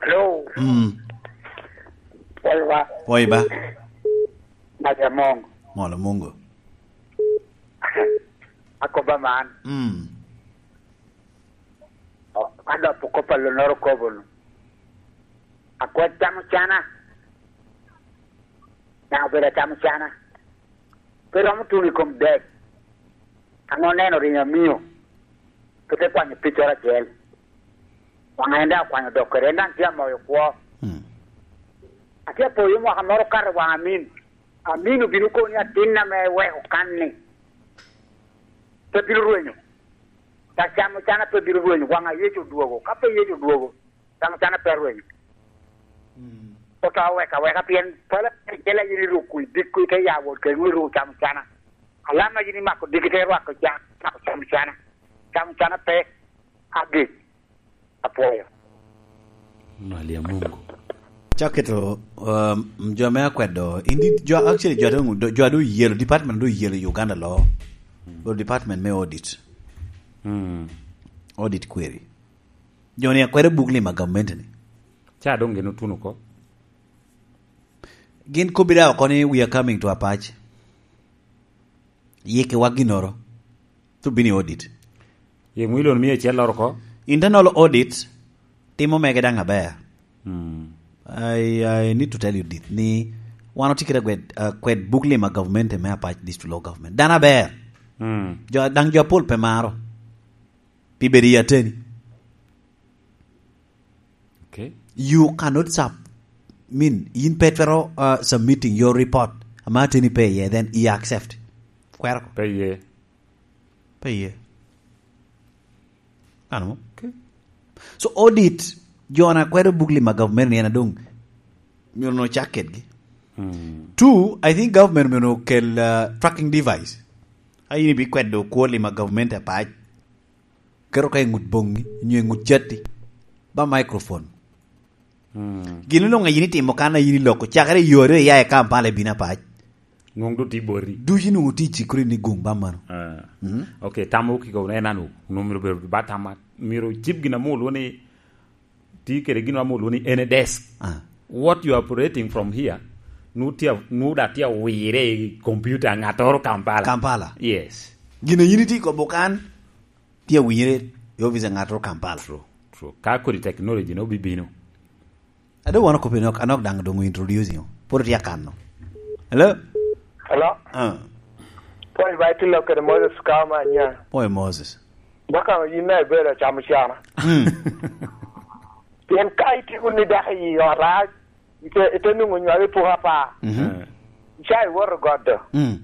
Hello. Mm. Pwoyo ba. Pwoyo ba. Mac among. Molo Mungu. Akoba man. Mm. O, adopo kop a lonoro kobo-nu. Akwed camo cana. Daŋ obedo acamo cana. Pe romo tuno i kom dek. An oneno rinyo amio, pe te kwanyo piccoro acel. Waŋa en daŋ okwanyo dok kede, en daŋ tye amoyo kwo. Mm. Atye apoyo mwaka moro okato i waŋ Amin. Amin obino kono ni atin ame eweko kan-ni pe bino rwenyo. Ka camo cana pe bino rwenyo, waŋa Yecu odwogo. Ka pe Yecu odwogo, camo cana pe rwenyo. Mm. Oto aweka aweka pien pala acel a yin iruko i dikku ite ya wot kede nwi iruko camo cana. Alam a yin imako diki ite rwako ca-, camo cana. Camo cana pe agik. Apwoyo. Mali a Mungu. Cak keto, um, jo me akwedo, indi jo, actually, jo adu-, jo adu yelo, department adu yelo i Uganda lo. Lo department me audit. Mm. Audit query. Jo ni akwero buk lima gamente ni. Ca doŋ gin otuno oko. Gin kobbi daŋ oko ni we are coming to Apac. Yikkiwa ginnoro. To bini audit. Ye mwilon mia acel loro oko? Internal audit timo mege daŋ aber. Mm. I, I need to tell you this, ni wan otye kede kwed, uh, kwed buk lima government me Apac District Law Government. Dano aber. Mm. Jo, daŋ jo apol pe maro. Pi bedo i ateni. Okay. You cannot sub-, mean, yin pe twero, uh, submitting your report. Ama ateni pe iye, then you accept. Kwero ko. Pe iye. Pe iye. Ano? Okay. So audit, jo na kwero buk lima government ni en adong. Myero no chak kedgi. Hmm. Two, I think government myero no kel, uh, tracking device. Ayin ibi kwedo kwo lima government Apac. Keto ka i ŋut boŋi, nyo i ŋut catti. Ba microphone. Hmm. Gin luŋ a yin itimo kan a yin iloko, cakere i yore iya i Kampala i bino Apac. Nwoŋ doŋ tye boti. Ducu nwoŋ tye i cikkoro ni guŋ ba mano. Ah. Mm. Okay, tam okiko en anu, nwoŋ myero bedo ba tam, myero cip gin ame olwo ni, tye kede gin ame olwo ni en a desk. Ah. What you are operating from here, nwoŋ tye, nwoŋ da tye awire i computer ŋattoro Kampala. Kampala. Yes. Gin a yin itye kobo kan, tye awinyere i opic a ŋattoro Kampala. True, true. Ka kodi technology no bibino. Ado wan okoppi nok, anok daŋ doŋ introduce yo. Pwod tye akano. Hello? Hello? Ah. Paul Baitilo kede Moses Kaoma nya. Paul Moses. Baka yin na ibedo acamo cana. Mm. Pien ka itye wunu i dako i ot, a, ite, ite nwoŋo nywalo i puko apa. Mhm. Eh. Ca iwoto got do. Mm.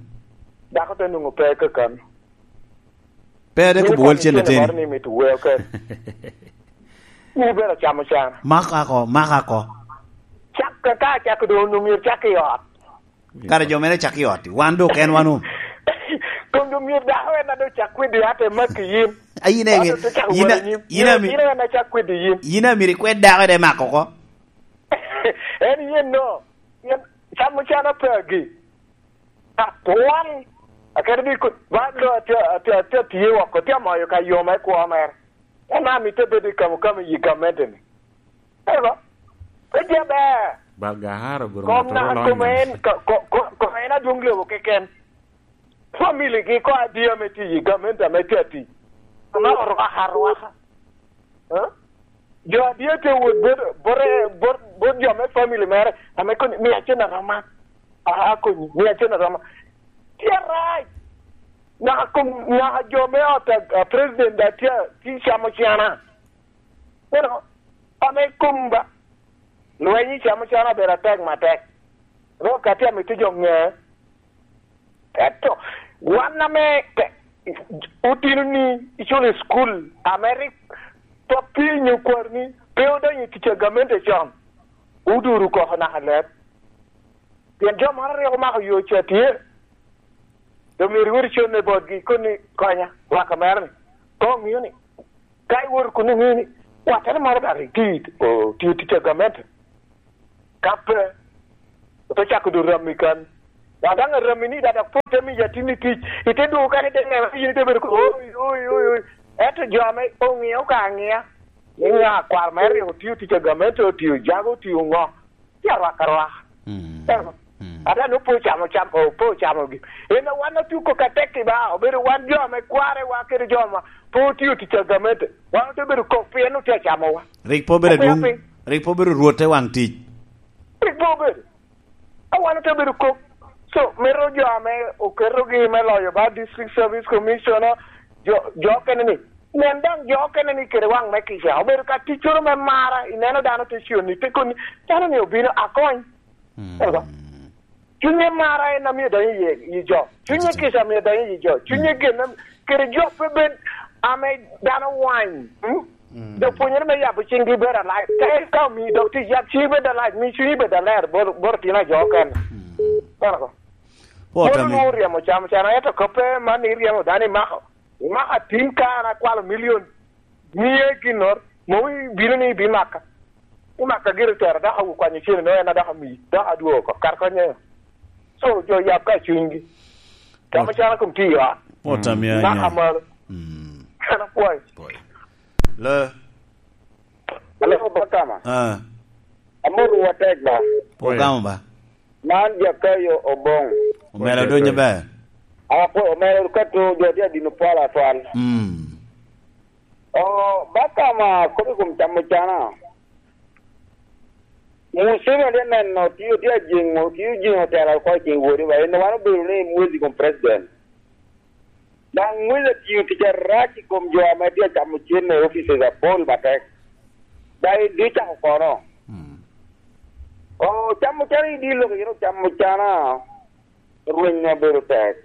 Dako te nwoŋo pe kakan. Pe ade kubo wal cen ateni. Ni mito weo kede. Ni bero camo cana. Maka ko, maka ko. Cak ka, ka cak do onwoŋo myero cak i ot. Kara jo mere cak i ot. Wan do ken wan o. Kom do myero dako en ado cak kwedi ate mak i yin. A yin enge. Ado te cak yin a, wala nyim. Yin a mi-, yin en acak kwedi yin. Yin a miri kwed dako de mako ko. En yen no. Yen camo cana pe agi. Atwal. Akete bi ku-, ba lo atye, atye, atye, atye woko, tye amoyo ka yo me kwo mere. En amito bedo i kamo kamo i gamente-ni. Eba, pe tye aber. Balgahara obedo kom ŋat na, oro kom lonyo. En, ko-, ko-, ko-, kom en adwoŋ lobo keken. Family gi ko adi ame tye i gamente ame tye atic. Ame orwaka arwaka. Eh? Jo adi tye wot bot, bot, bot, bot jo me family mere, ame koni, "Mia cen aroma, a, akonyi, mia cen aroma." Tye arac. Naka kom, naka jo me ot a, a president a tye, tye camo cana. Ineno, ame kom ba. Lweny i camo cana obedo atek matek. Ro ka tye amito jo ŋe. Ento wan ame ke-, otino ni iculo i cukul, ame rik pwod piny okwarni pe odonyo i tic a gamente con, oduro koko naka leb. Pien jo moro rik omako yo ca tye. Doŋ myero iwot icone botgi, ikoni, "Konya, waka mera-ni." Ka oŋeo ni, ka iwoto kun iŋeo ni, "Wattere moro daŋ rik tye, otio tic a gamente." Ka pe, ote cako doŋ rammi kan. Dok daŋ arammi-ni daŋ dok pwod te miyo atinni tic, ite dwogo kare ite neno ni yin ite bedo kede, "Oi, oi, oi, oi." Ento jo ame oŋeo ka aŋea, ni ŋa kwaro mere rik otio tic a gamente, otio jago, otio ŋo, tye arwak arwaka. Mm. Eno. Mm. Ata ni opo ocamo cam, opo ocamogi. En a wan otuko ka tek i ba, obedo wan jo ame kware wa kede jo ma pe otio tic a gamente. Wan ote bedo kok pien otye acamowa. Rik pe obedo Okwero adwoŋ, piny. Rik pe obedo rwot te waŋ tic. Rik pe obedo. A wan ote bedo kok. So, mito jo ame oketogi me loyo ba District Service Commissioner, jo, jo okene ni, nen daŋ jo okene ni kede waŋ me kica. Obedo ka ticcoro me mara, ineno dano te cio ni, te koni, dano ni obino akony. Mm. Ego. Cunye mara en amio donyo i yi jo. Cunye kica amio donyo i yi jo. Cunye gen am-, kede jo pe bed ame dano wany. Mm? Mm. Jo pwonyere me yabo ciŋgi bedo alac. Ka en ka omi dok tic, yab ciŋi bedo alac, mi cunyi bedo aler, bot, bot otino a jo okene. Mm. Ego. Pwot Mono ame. Nwoŋo ryemo camo cano, ento koppe man iryemo dano imako. Imako atin ka an akwalo milion mia i ginnoro, mom ibino ni ibimaka. Imaka gire tero dok awu kwanyo cene, no en a dok ami, dok adwogo oko. Kar konye. So, jo yab ka cunygi. Camo Pwot. Cano kom tye i ot. Pwot ame Imaka anya. Malo. Mm. An apwoyo. Pwoyo. Le. Alo, Obakama. Ah. Amoto wa tek ba. Pwoyo. Ogamo ba. Man Jakayo Oboŋ. Omera odonyo ber. Apo omera ka to jo tye adino pala atwal. Mm. O, ba ka ma kop i kom camo cana. Museveni tye neno, tye, tye ajeŋo, tye ojeŋo tela oko i kin wodi ba. En wan obedo ni mwezi kom president. Daŋ mwezi atiyo tic arac i kom jo ame tye acamo cen i offices apol matek. Daŋ idicako kono. Mm. O, camo cana i dye lok, yin ocamo cana, rweny obedo tek.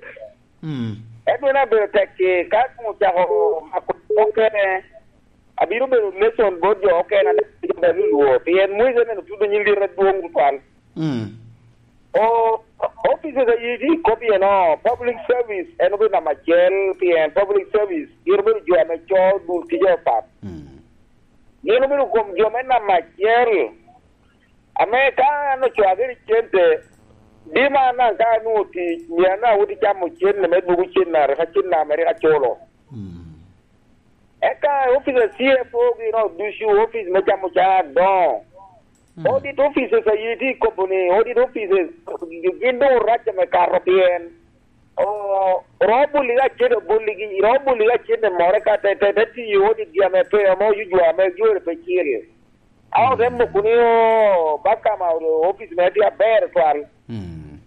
Mm. Ento en abedo tek ki, ka ocako mako okene, abino bedo lesson bot jo okene, ame jo me lulwo, pien mwezi ene otudo nyin lit adwoŋ tutwal. Mm. O, offices a yiti kop iye no, public service en obedo namba acel, pien public service gin obedo jo ame co dul tije apat. Mm. Gin obedo kom jo me namba acel, ame ka an ocwagere i cente, dima an daŋ ka anwoŋo tic, myero an daŋ awot i camo cente me dwogo cen a rik acen ame rik aculo. Mm. Eka office a C F O gin ot ducu, office me camo cana adoŋo. Mm. Audit offices a yiti i kobo ni, audit offices gin doŋ orac ame kato pien. O, oromo boligi acel, oboligi, oromo boligi acel i more ka te, te, te tiyo audit gi ame pe, ame oyucwa ame jore pe cil. A ote moko ni, o, ba ka ma office mere tye aber twal. Mm.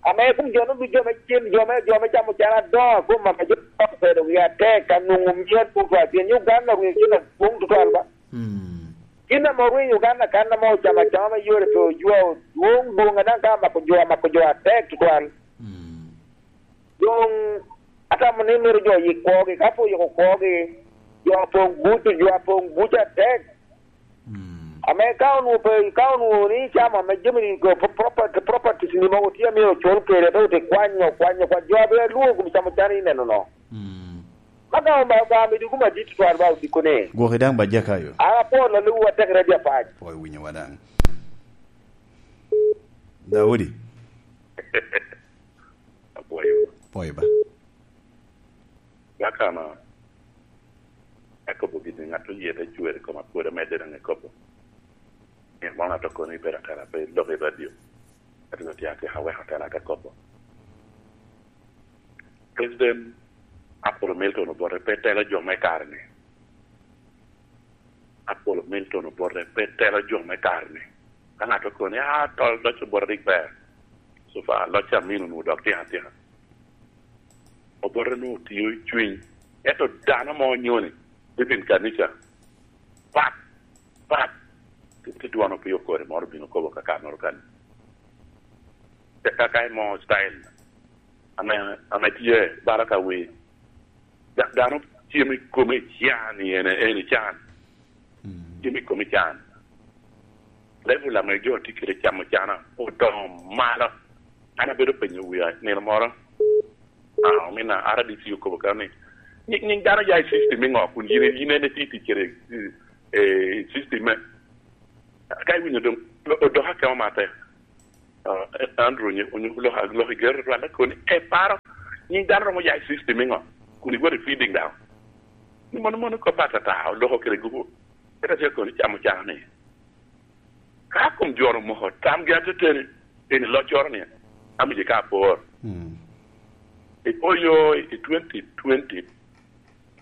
Ame kun jo no ducu ame cen, jo me, jo me camo cana adoŋo, kun ame jo obedo wi atek, ka nwoŋo mia tutwal, pien Uganda orwenyo cen adwoŋ tutwal ba. Mm. Gin ame orwenyo Uganda kan ame ocamo acama me yore pe ojwa, dwoŋ, dwoŋ, a daŋ ka amako jo, amako jo atek tutwal. Mm. Doŋ atamo ni myero jo oyik kwogi, ka pe oyiko kwogi, jo apoŋ buc, jo apoŋ buc atek. Mm. Ame ka onwoŋo pe, ka onwoŋo ni icamo ame jami ni go, pro-, property, properties ni mogo tye a myero ocul kede, pe ote kwanyo, kwanyo, kwanyo. Jo a be alwoŋo kom camo can ineno no. Mm. Ma ka Obaŋa, Obaŋa medi kum adit tutwal ba odiko ni. Gwoki daŋ ba Jakayo. An apwoo lolliwu atek ready apac. Pwoo iwinyowa daŋ. Daudi. Apwoyo. Pwoyo ba. Gakama, akobo gini, ŋat oye te cwer i koma, pwod amedde daŋ i kobo. Myero mano ŋat okono ibedo atela pe lok i radio. Ento tye atyeko aweko atela ate kobo. President Apollo Milton Obote pe telo jo me kare-ni. Apollo Milton Obote pe telo jo me kare-ni. Ka ŋat okono ni, "Ah, tol loc Obote rik ber." So far, loc Amin onwoŋo dok tino atika. Obote onwoŋo tio i cwiny. Ento dano mo onyoni, even kanica, pat, pat, te, te dwono piny okore moro obino kobo kakannoro kani. Te kaka imo style ame, ame tye bala ka wer. Da-, dano cem i kome can, ene, ene can. Mm. Cem i kome can. Level ame jo tye kede camo cana odoŋo malo. An abedo penyo wia nino moro, ah, omina R D C okobo ka ni, "Nyi-, nyiŋ dano ya i system i ŋo kun yin, yin en itye tic kede, eh, system me?" Ka iwinyo doŋ, o-, odok akemo matek. Ah, Andrew onyo-, onyo lok, lok i gero twal, koni, "E paro, nyiŋ dano romo ya i system i ŋo kun iwot i feeding dano?" Ni mono, mono kop atata, oloko kede gupu. Eka tye koni camo cana ni. Ka kom joro moko, tamgi ateteni, eni loccoro ni, amiye ka apor. Mm. I oyo i twenty twenty,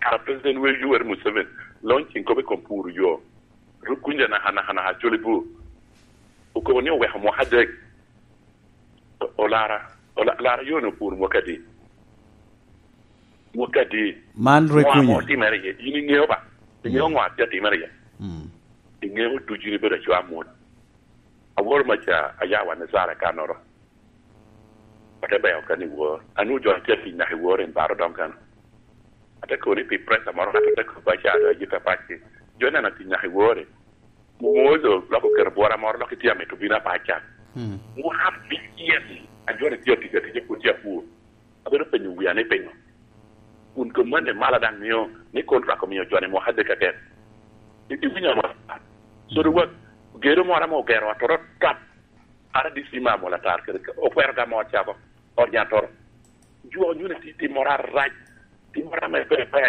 kara President we Yoweri Museveni, launching kop i kom puro yo. Ruk kunja naka, naka, naka, culi bu. Okobo ni oweko mwaka adek. O-, olara, ola-, lara yo ni opuro mwaka adi? Mwaka adi? Man rik Ŋo ame kunyo. Otimere iye? Yin iŋeo ba? Iŋeo Mm. ŋo atye atimere iye? Mm. Iŋeo ducu ni bedo acwa amut. Aworo maca aya wan i Sara kanoro. Ate beo kan i wor. Anu jo atye atic naka i wor en baro dong kan. Ate koni pi pressure moro, ate te kobba ca do ajita pacci. Jo neno atic naka i wor. Momozo loko kero bwora moro, lok itye amito bino apac can. Mm. Mwaka abicel, a jo ni tye atic atic, pwod tye apur. Abedo penyo wia ni pingo. Kun kom mene mala daŋ mio ni contract omio jo ni mwaka adek aket. I-, iwinyo mo? So, the work, gedo moro ame ogero atoro tap. R D C me Amol Atar kede okwero gamo ot cako, ot nyan toro. Jo nyuno ti-, timmoro arac, timmoro ame pe, pe.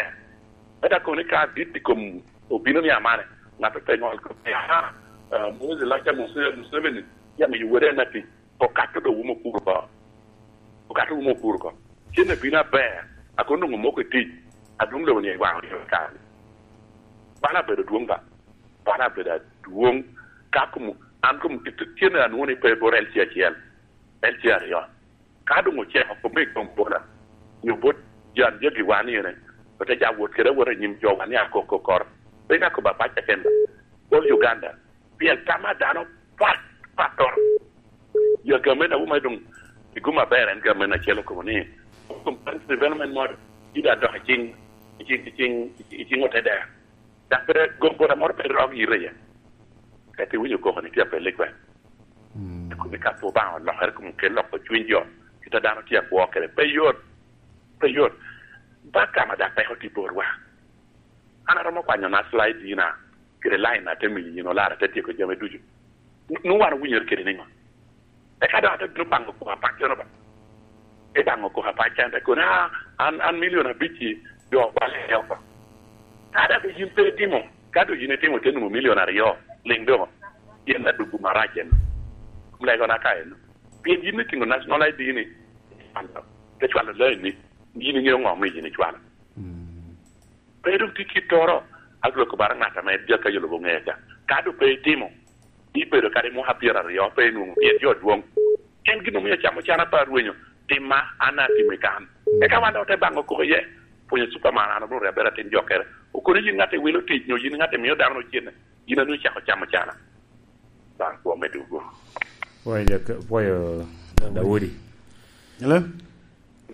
Eda koni ka dit i kom obino ni amane, ŋat pe ŋol ko, "Aha, ah, Moses Laca Muse-, Museveni, ya miyo wode en atic, okato do wumo puro ko. Okato wumo puro ko." Cen abino aber, a kono nwoŋo moko i tic, a dwoŋ lobo ni waŋo yo kare. Bala abedo dwoŋ ba. Bala abedo adwoŋ. Ka kom, an kom, cen anwoŋo ni pe bot L C acel, L C aryo. Ka doŋ oceko, kome i kom bola, nyo bot jan jagi wan ene, ote ja wot kede awota i nyim jo wan i akoko kor. Pe ka kobo apac keken, bot Uganda, pien tam a dano pat, pattoro. Ya gamente awuma doŋ i gum aber en gamente acel okobo ni, "Comprehensive development model, ida dok i ciŋ, i ciŋ, i ciŋ, i ciŋ otedera." Dok pe gombola moro pe rok yite iye. Ka ite winyo koko ni tye apelli kwen. Mm. Kumi ka pe Obaŋa olokere, kumi kel loko cwiny jo, kit a dano tye akwo kede. Pe yot, pe yot. Ba kama dak peko tye borwa. An aromo kwanyo na slide dina, kede line ate miyo yin olara, ate tyeko jami ducu. Nu-, nu wan owinyere kede niŋo? Eka dok ate bino baŋo koko apac keno ba. Ibaŋo koko apac kene, te kono, "Ah, an, an milion abic-ci, jo okwale oko." Ka dok yin pe itimo, ka dok yin itimo, te nwoŋo milion aryo, liŋ doŋo. Yen adwogo marac en. Legona ka en. Pien yin itingo national I D ni, te cwalo lain ni, yin iŋeo ŋo omio yin icwalo. Mm. Pe doŋ tye kittoro, aglo kobara ŋat ame dyakka yo lobo ŋeya ca. Ka doŋ pe itimo, ibedo kadi mwaka pyeraryo, pe inwoŋo pien jo dwoŋ. En gin omio acamo can apa rwenyo, timma, an atimo i kan. Eka wan doŋ ote baŋo koko iye, pwonyo Superman, an obedo abedo atin jokere. Okono yin ŋat iwilo tic, nyo yin ŋat imio dano ocenne, yin anu icako camo cana. Baŋ kwo me dugo. Pwoyo Jaka-, pwoyo Daudi. Hello?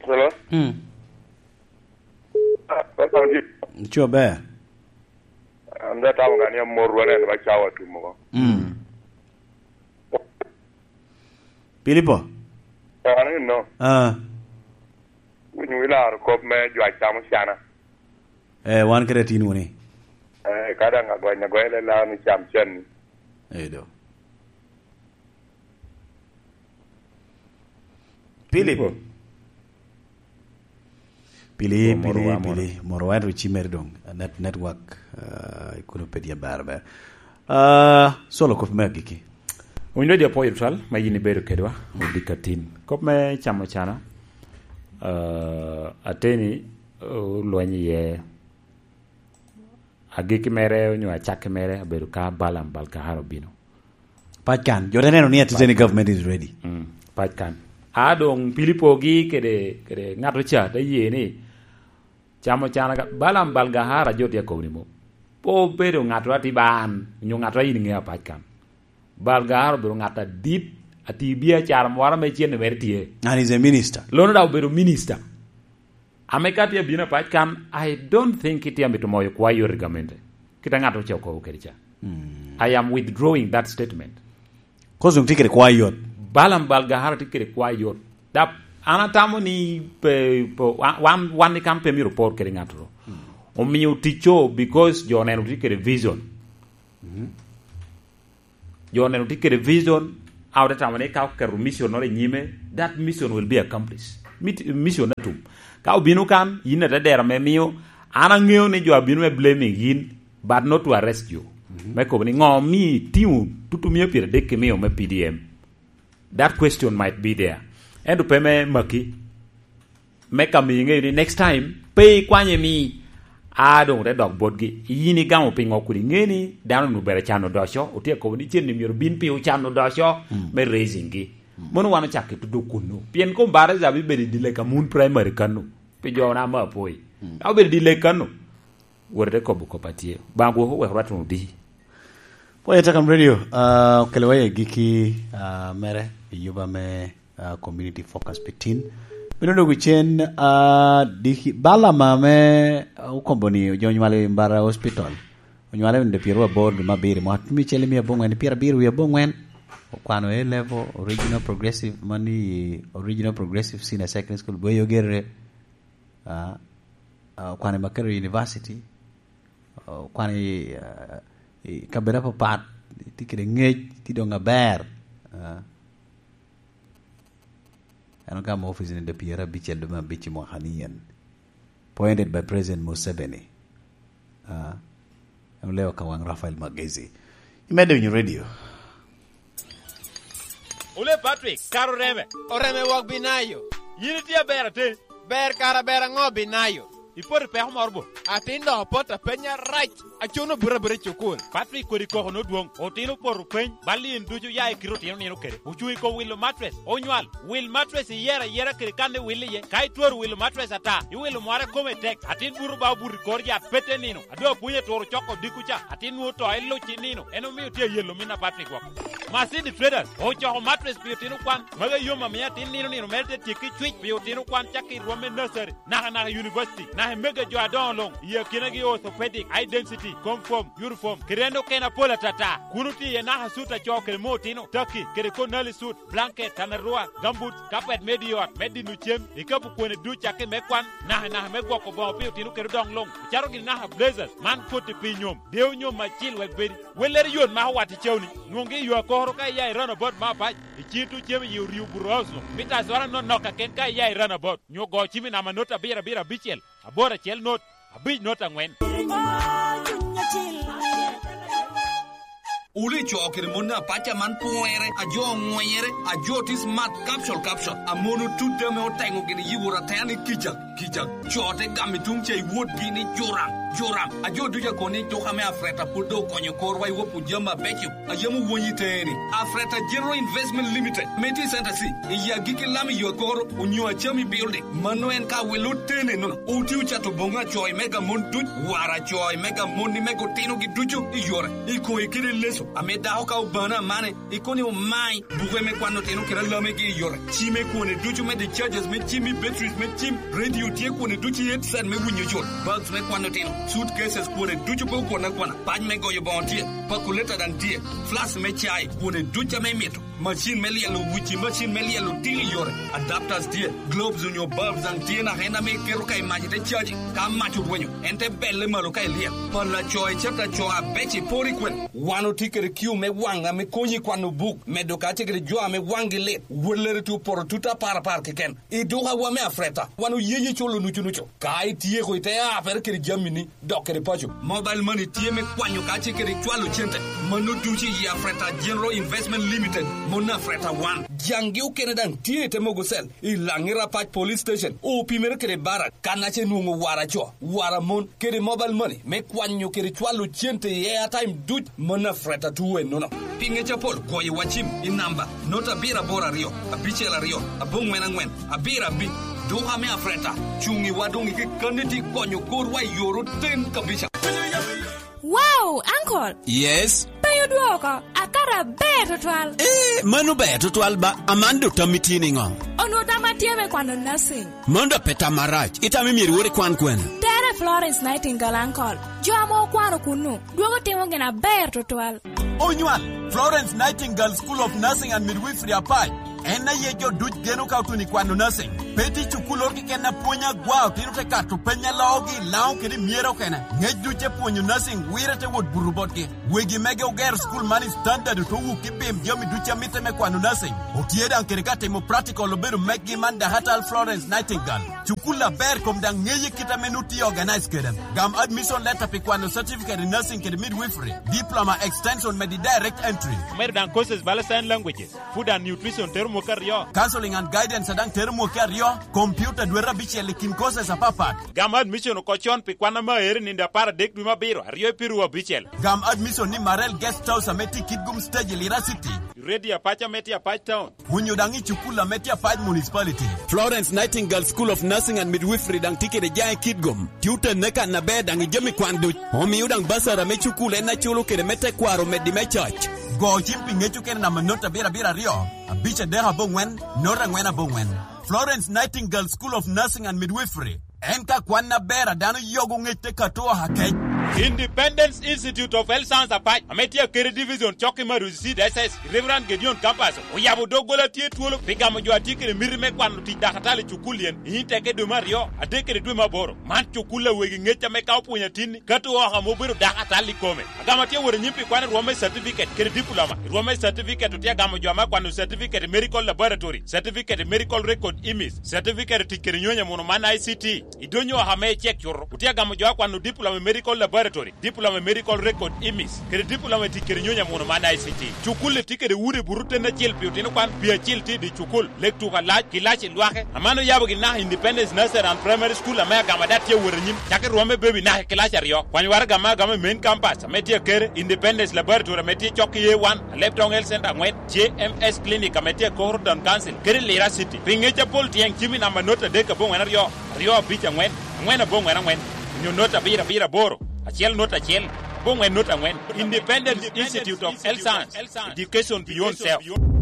Hello? Hmm. Ah, Pastor Andy. Coo ber. An da tamo gani amor wan en ba cawa tumo. Mm. Pilipo? Eh, an ino. Ah. Winyo ilaro kop me jo acamo cana. Eh, wan kede atin wuni. Eh, ka daŋ agwany agwany le laro ni cam can ni. Eh, do. Pili. Pili, Pili, morowa, moro. Pili, morowa en ru cimere dong. Net-, network, ah, ikuno pe tye ber, ber. Ah, solo kop me agikki. Owinyo di apoyo twal, ma yin ibedo kedwa, odika tin. Kop me camo cana, ah, ateni, oh, lweny iye. Agikki mere onyo acakki mere abedo ka Balaam Balgahar obino. Pac kan, jo te neno ni a Pac Tanzania kan. Government is ready. Mm, pac kan. A doŋ Pilipo gi kede, kede ŋat oca te ye ni camo cana ka, Balaam Balgahar a jo tye akobo ni mo. Pe obedo ŋat a tye ban, onyo ŋat a in iŋeo a pac kan. Balgahar obedo ŋat adit, ati biacara moro ame cene mere tye. And he's a minister. Lono daŋ obedo minister. Ame ka tye abino apac kan, I don't think itye amito moyo kwa yot i gamente. Kit a ŋat oce okobo kede ca. Mm. I am withdrawing that statement. Koz doŋ tye kede kwa yot. Balaam Balgahar tye kede kwa yot. Dap, an atamo ni pe, pe, wan, wan, wan i kan pe myero opor kede ŋattoro. Omio ticco because jo oneno tye kede vision. Jo oneno tye kede vision, a ote tamo ni ka oketo mission noro i nyime, that mission will be accomplished. Mit-, mission atum. Ka obino kan, yin ate dero me mio, an aŋeo ni jo abino me blaming yin, but not to arrest you. Me kobo ni, ŋo mi itiŋo tutumia pyeradek kimio me P D M? That question might be there. Ento pe me maki, me ka miyo iŋeyo ni next time, pe ikwanye mi, a doŋ te dok botgi. Yin igamo piŋo kun iŋe ni dano onwoŋo bere can odoco, otye akobo ni cen-ni myero bin pi ocan odoco me raising-gi. Mono wan ocakke tudo kunnu. Pien kom baraza bibedo i Dilek Amun Primary kanu, pi jo na me apoi. Ka obedo i Dilek kanu, wot ite kobo kop atye. Baŋ gwok owek rwat wunu di. Pwony Takam Radio, ah, okelo wa i giki, ah, mere i yuba me, ah, Community Focus pi Tin. Bino dwogo cen, ah, diki, bal ama me, ah, okombo ni ojo onywalo i Mbara Hospital. Onywalo i nino pyeraryo aboro dwe me abiro, mwaka alip acel i mia abongwen pyerabiro wie abongwen. Okwano A level, Original Progressive, mani Original Progressive Senior Secondary School, Bweyogerere. Ah, ah, okwano i Makerere University. Okwano i, ah, i kabedo apapat, tye kede ngec, tye doŋ aber. Ah. En ogamo ofice-ni dwe pyerabicel dwe me abic i mwaka ni en. Appointed by President Museveni. Ah, en oleo ka waŋ Raphael Magezi. Imedde winyo radio. Ole Patrick, kara oreme. Oreme wok Binayo. Yin itye aber aten. Ber kara ber aŋo Binayo? Ipoto i peko moro bo? Atin dok opot apenya rac. Acono buto abuta i cukul. Patrick kodi koko nodwoŋ. Otino opoto peny. Bal in ducu ya i kite otino nino kede. Ocuŋ i kom wilo matres. Onywal. Wil matres iyero ayera kede kan iwil iye. Ka itwero wilo matres ata, iwilo mware kome tek. Atin buto ba obuto i kor yat pete nino. A doŋ apwony aturo coko odiko ca, atin nwoŋo to iluc i nino. En omio tye ayelo min apat i gwok. Masini Traders ocoko matres pi otino kwan. Magi yom amio atin nino nino mere te tyekki cwic pi otino kwan cakki i rwom me nursery, naka naka i university, naka i mega jo adoŋo luŋ, i akinagi orthopedic, high density, comfort, uniform, kede en okene apol atata. Kun otye iye naka sut a co kede me otino, taki, kede konali sut, blanket, tanarua, gambut, kapet me diot, me dino cem, ikapu kwone duc cakki me kwan, naka naka me gwoko boŋo pi otino kede odoŋ luŋ, ocaro gini naka blazers, man koti pi nyom, deo nyom acil wek bedi. Wellere yot mako wat i cawni, nwoŋgi i yo akoro ka iya i runabout me apac, i cin tuŋ cem i yi oryo Burohouse luŋ, mita azwara nonok kaken ka iya i runabout, nyo go cim i namba not abiro abiro abicel, aboro acel not, abic not aŋwen. Wule co kede mon apac aman pwere, a jo oŋwenyere, a jo tye smart, capsule, capsule. A mon otut ame oteŋo gini yibo ratena ni kica, kica. Co te gamo i tuŋ ca i wotgi ni juram, juram. A jo ducu akobo ni tuka me Afreta pwod doŋ okonyo korwa i wopwu jami abeco. A yam owonyi teni. Afreta General Investment Limited, ame tye i Center C, i agikki lam i yo akoro, onyo Achami Building. Mano en ka wilo tene nono. Oti ocato boŋo acoy me gamon duc, war acoy me gamon ni me gutinogi ducu i yore. I koŋe kede leso, ame dako ka obano amane, i koni omai, buke me kwano tino kede alamegi i yore. Ci me kwone ducu me discharges me cim i batteries me cim, radio tye kwone ducu i headset me winyo col, bags me kwano tino, suitcases kwone ducu pe okwane akwana, pac me goyo boŋo tye, calculator daŋ tye, flask me cai, kwone ducu ame imito. Macin me lyelo wuci, macin me lyelo tino i yore, adapters tye, globes onyo bulbs daŋ tye naka en ame iketo ka i mac ite caji. Ka mac orwenyo, en te belle malo ka ilyel. Pala co i cata co abec i pori kwen. Wan otye kede kiu me waŋ ame konyi kwano buk, medo ka tye kede jo ame waŋgi lit. Wellere tye opoto tut apar apar keken. I dukawa me Afreta, wan oyenyi culo nucu nucu. Ka ityeko ite apere kede jamini, dok kede paco. Mobile money tye me kwanyo ka tye kede cwalo cente. Mano ducu i Afreta General Investment Limited, mon Afreta One. Jaŋgi okene daŋ tye i te mogo cell, i Laŋi Rapac Police Station, opimere kede Barak, kan ace nwoŋo wara co, wara mon, kede mobile money, me kwanyo kede cwalo cente i airtime duc, mon Afreta two ennono. Pi ŋec apol, goyo wa cim i namba, not abiro aboro aryo, abicel aryo, aboŋwen aŋwen, abiro abic. Duka me Afreta, cuŋ i wa doŋ i kekkanni ti konyo korwa i yor oten kabisa. Wow, uncle! Yes? Pe odwoko, akato aber tutwal. Eh, mano ber tutwal ba, Amanda otammi tye niŋo? Onwoŋo tamma tye me kwano nursing. Mano dok pe tam marac, itamo myero iwot ikwan kwene? Tere Florence Nightingale, uncle. Jo ame okwano kunnu, dwogo timo gin aber tutwal. Onywal, Florence Nightingale School of Nursing and Midwifery Apac. En aye jo duc geno ka otuno i kwano nursing. Pe tye cukulloro keken a pwonyo agwa, otino te kato peny a loogi i Laŋo kede i Myera okene. Ŋec duc te pwonyo nursing wire te wot buto botgi. Wegi mege ogero cukul man i standard, ote wuki bim jami duc a mitte me kwano nursing. Otye daŋ kede ka timo practical obedo meggi man Dakatal Florence Nightingale. Cukul aber kom daŋ ŋeye kit ame nu tye organize kede. Gam admission letter pi kwano certificate in nursing kede midwifery, diploma extension medi direct entry. Omedo daŋ courses bala sign languages, food and nutrition tero mwaka aryo. Counseling and guidance daŋ tero mwaka aryo, computer dwete abicel i kin courses apapat. Gam admission oko con pi kwan ame aero i nino apar adek dwe me abiro, aryo i piru abicel. Gam admission ni Marel Guest House ame tye i Kitgum Stage i Lira City. Radio Apac ame tye Apac Town. Onyo daŋ i cukul ame tye Apac Municipality. Florence Nightingale School of Nursing and Midwifery daŋ tye kede jaŋ i Kitgum. Tye otenne kan aber daŋ i jami kwan duc. Omio daŋ basara me cukul en aculo kede me tekwaro omeddi me coc. Go cim pi ŋec okene namba not abiro abiro aryo, abic adek aboŋwen, not aŋwen aboŋwen. Florence Nightingale School of Nursing and Midwifery. En ka kwan aber a dano yogo ŋec te kato oha kec. Independence Institute of Health Science Apac, ame tye Akere Division, cok i Maruzi Seed S S, Reverend Gideon Campus, oyabo doggola tye twolo pi gamo jo a tye kede miti me kwano tic dakatali i cukul yen, i Inteke dwe me aryo, adek kede dwe me aboro. Man cukul a wegi ŋec ame ka opwonyo atinni, kato oha ame obedo dakatali i kome. Agamo atye wot anyim pi kwano rwom me certificate kede diploma. I rwom me certificate otye agamo jo ame akwano certificate i medical laboratory, certificate i medical record image, certificate i tic kede nyonyo amuno man I C T. I donyo oha me icek cuto, otye agamo jo akwano diploma i medical laboratory, diploma i medical record image, kede diploma i tic kede nyonyo amuno man I C T. Cukul-li tye kede udi buto ten acel pi otino kwan, pi acel tye i dye cukul, lek tuko alac, kilaci lwake. Aman oyabo gin naka Independence Nursery and Primary School ame agamo ada tye awot anyim, cako i rwom me baby naka i kilaci aryo. Kwany waraga ame agamo i main campus ame tye Akere, Independence Laboratory ame tye cok i A one, Alebtong Health Center aŋwen, J M S Clinic ame tye i Koro Town Council, kede Lira City. Pi ŋec apol tyen cim i namba not adek aboŋwen aryo, aryo abic aŋwen, aŋwen aboŋwen aŋwen, onyo not abiro abiro aboro, acel not acel, aboŋwen not aŋwen. Independence Institute of Health Science, Education Beyond Self.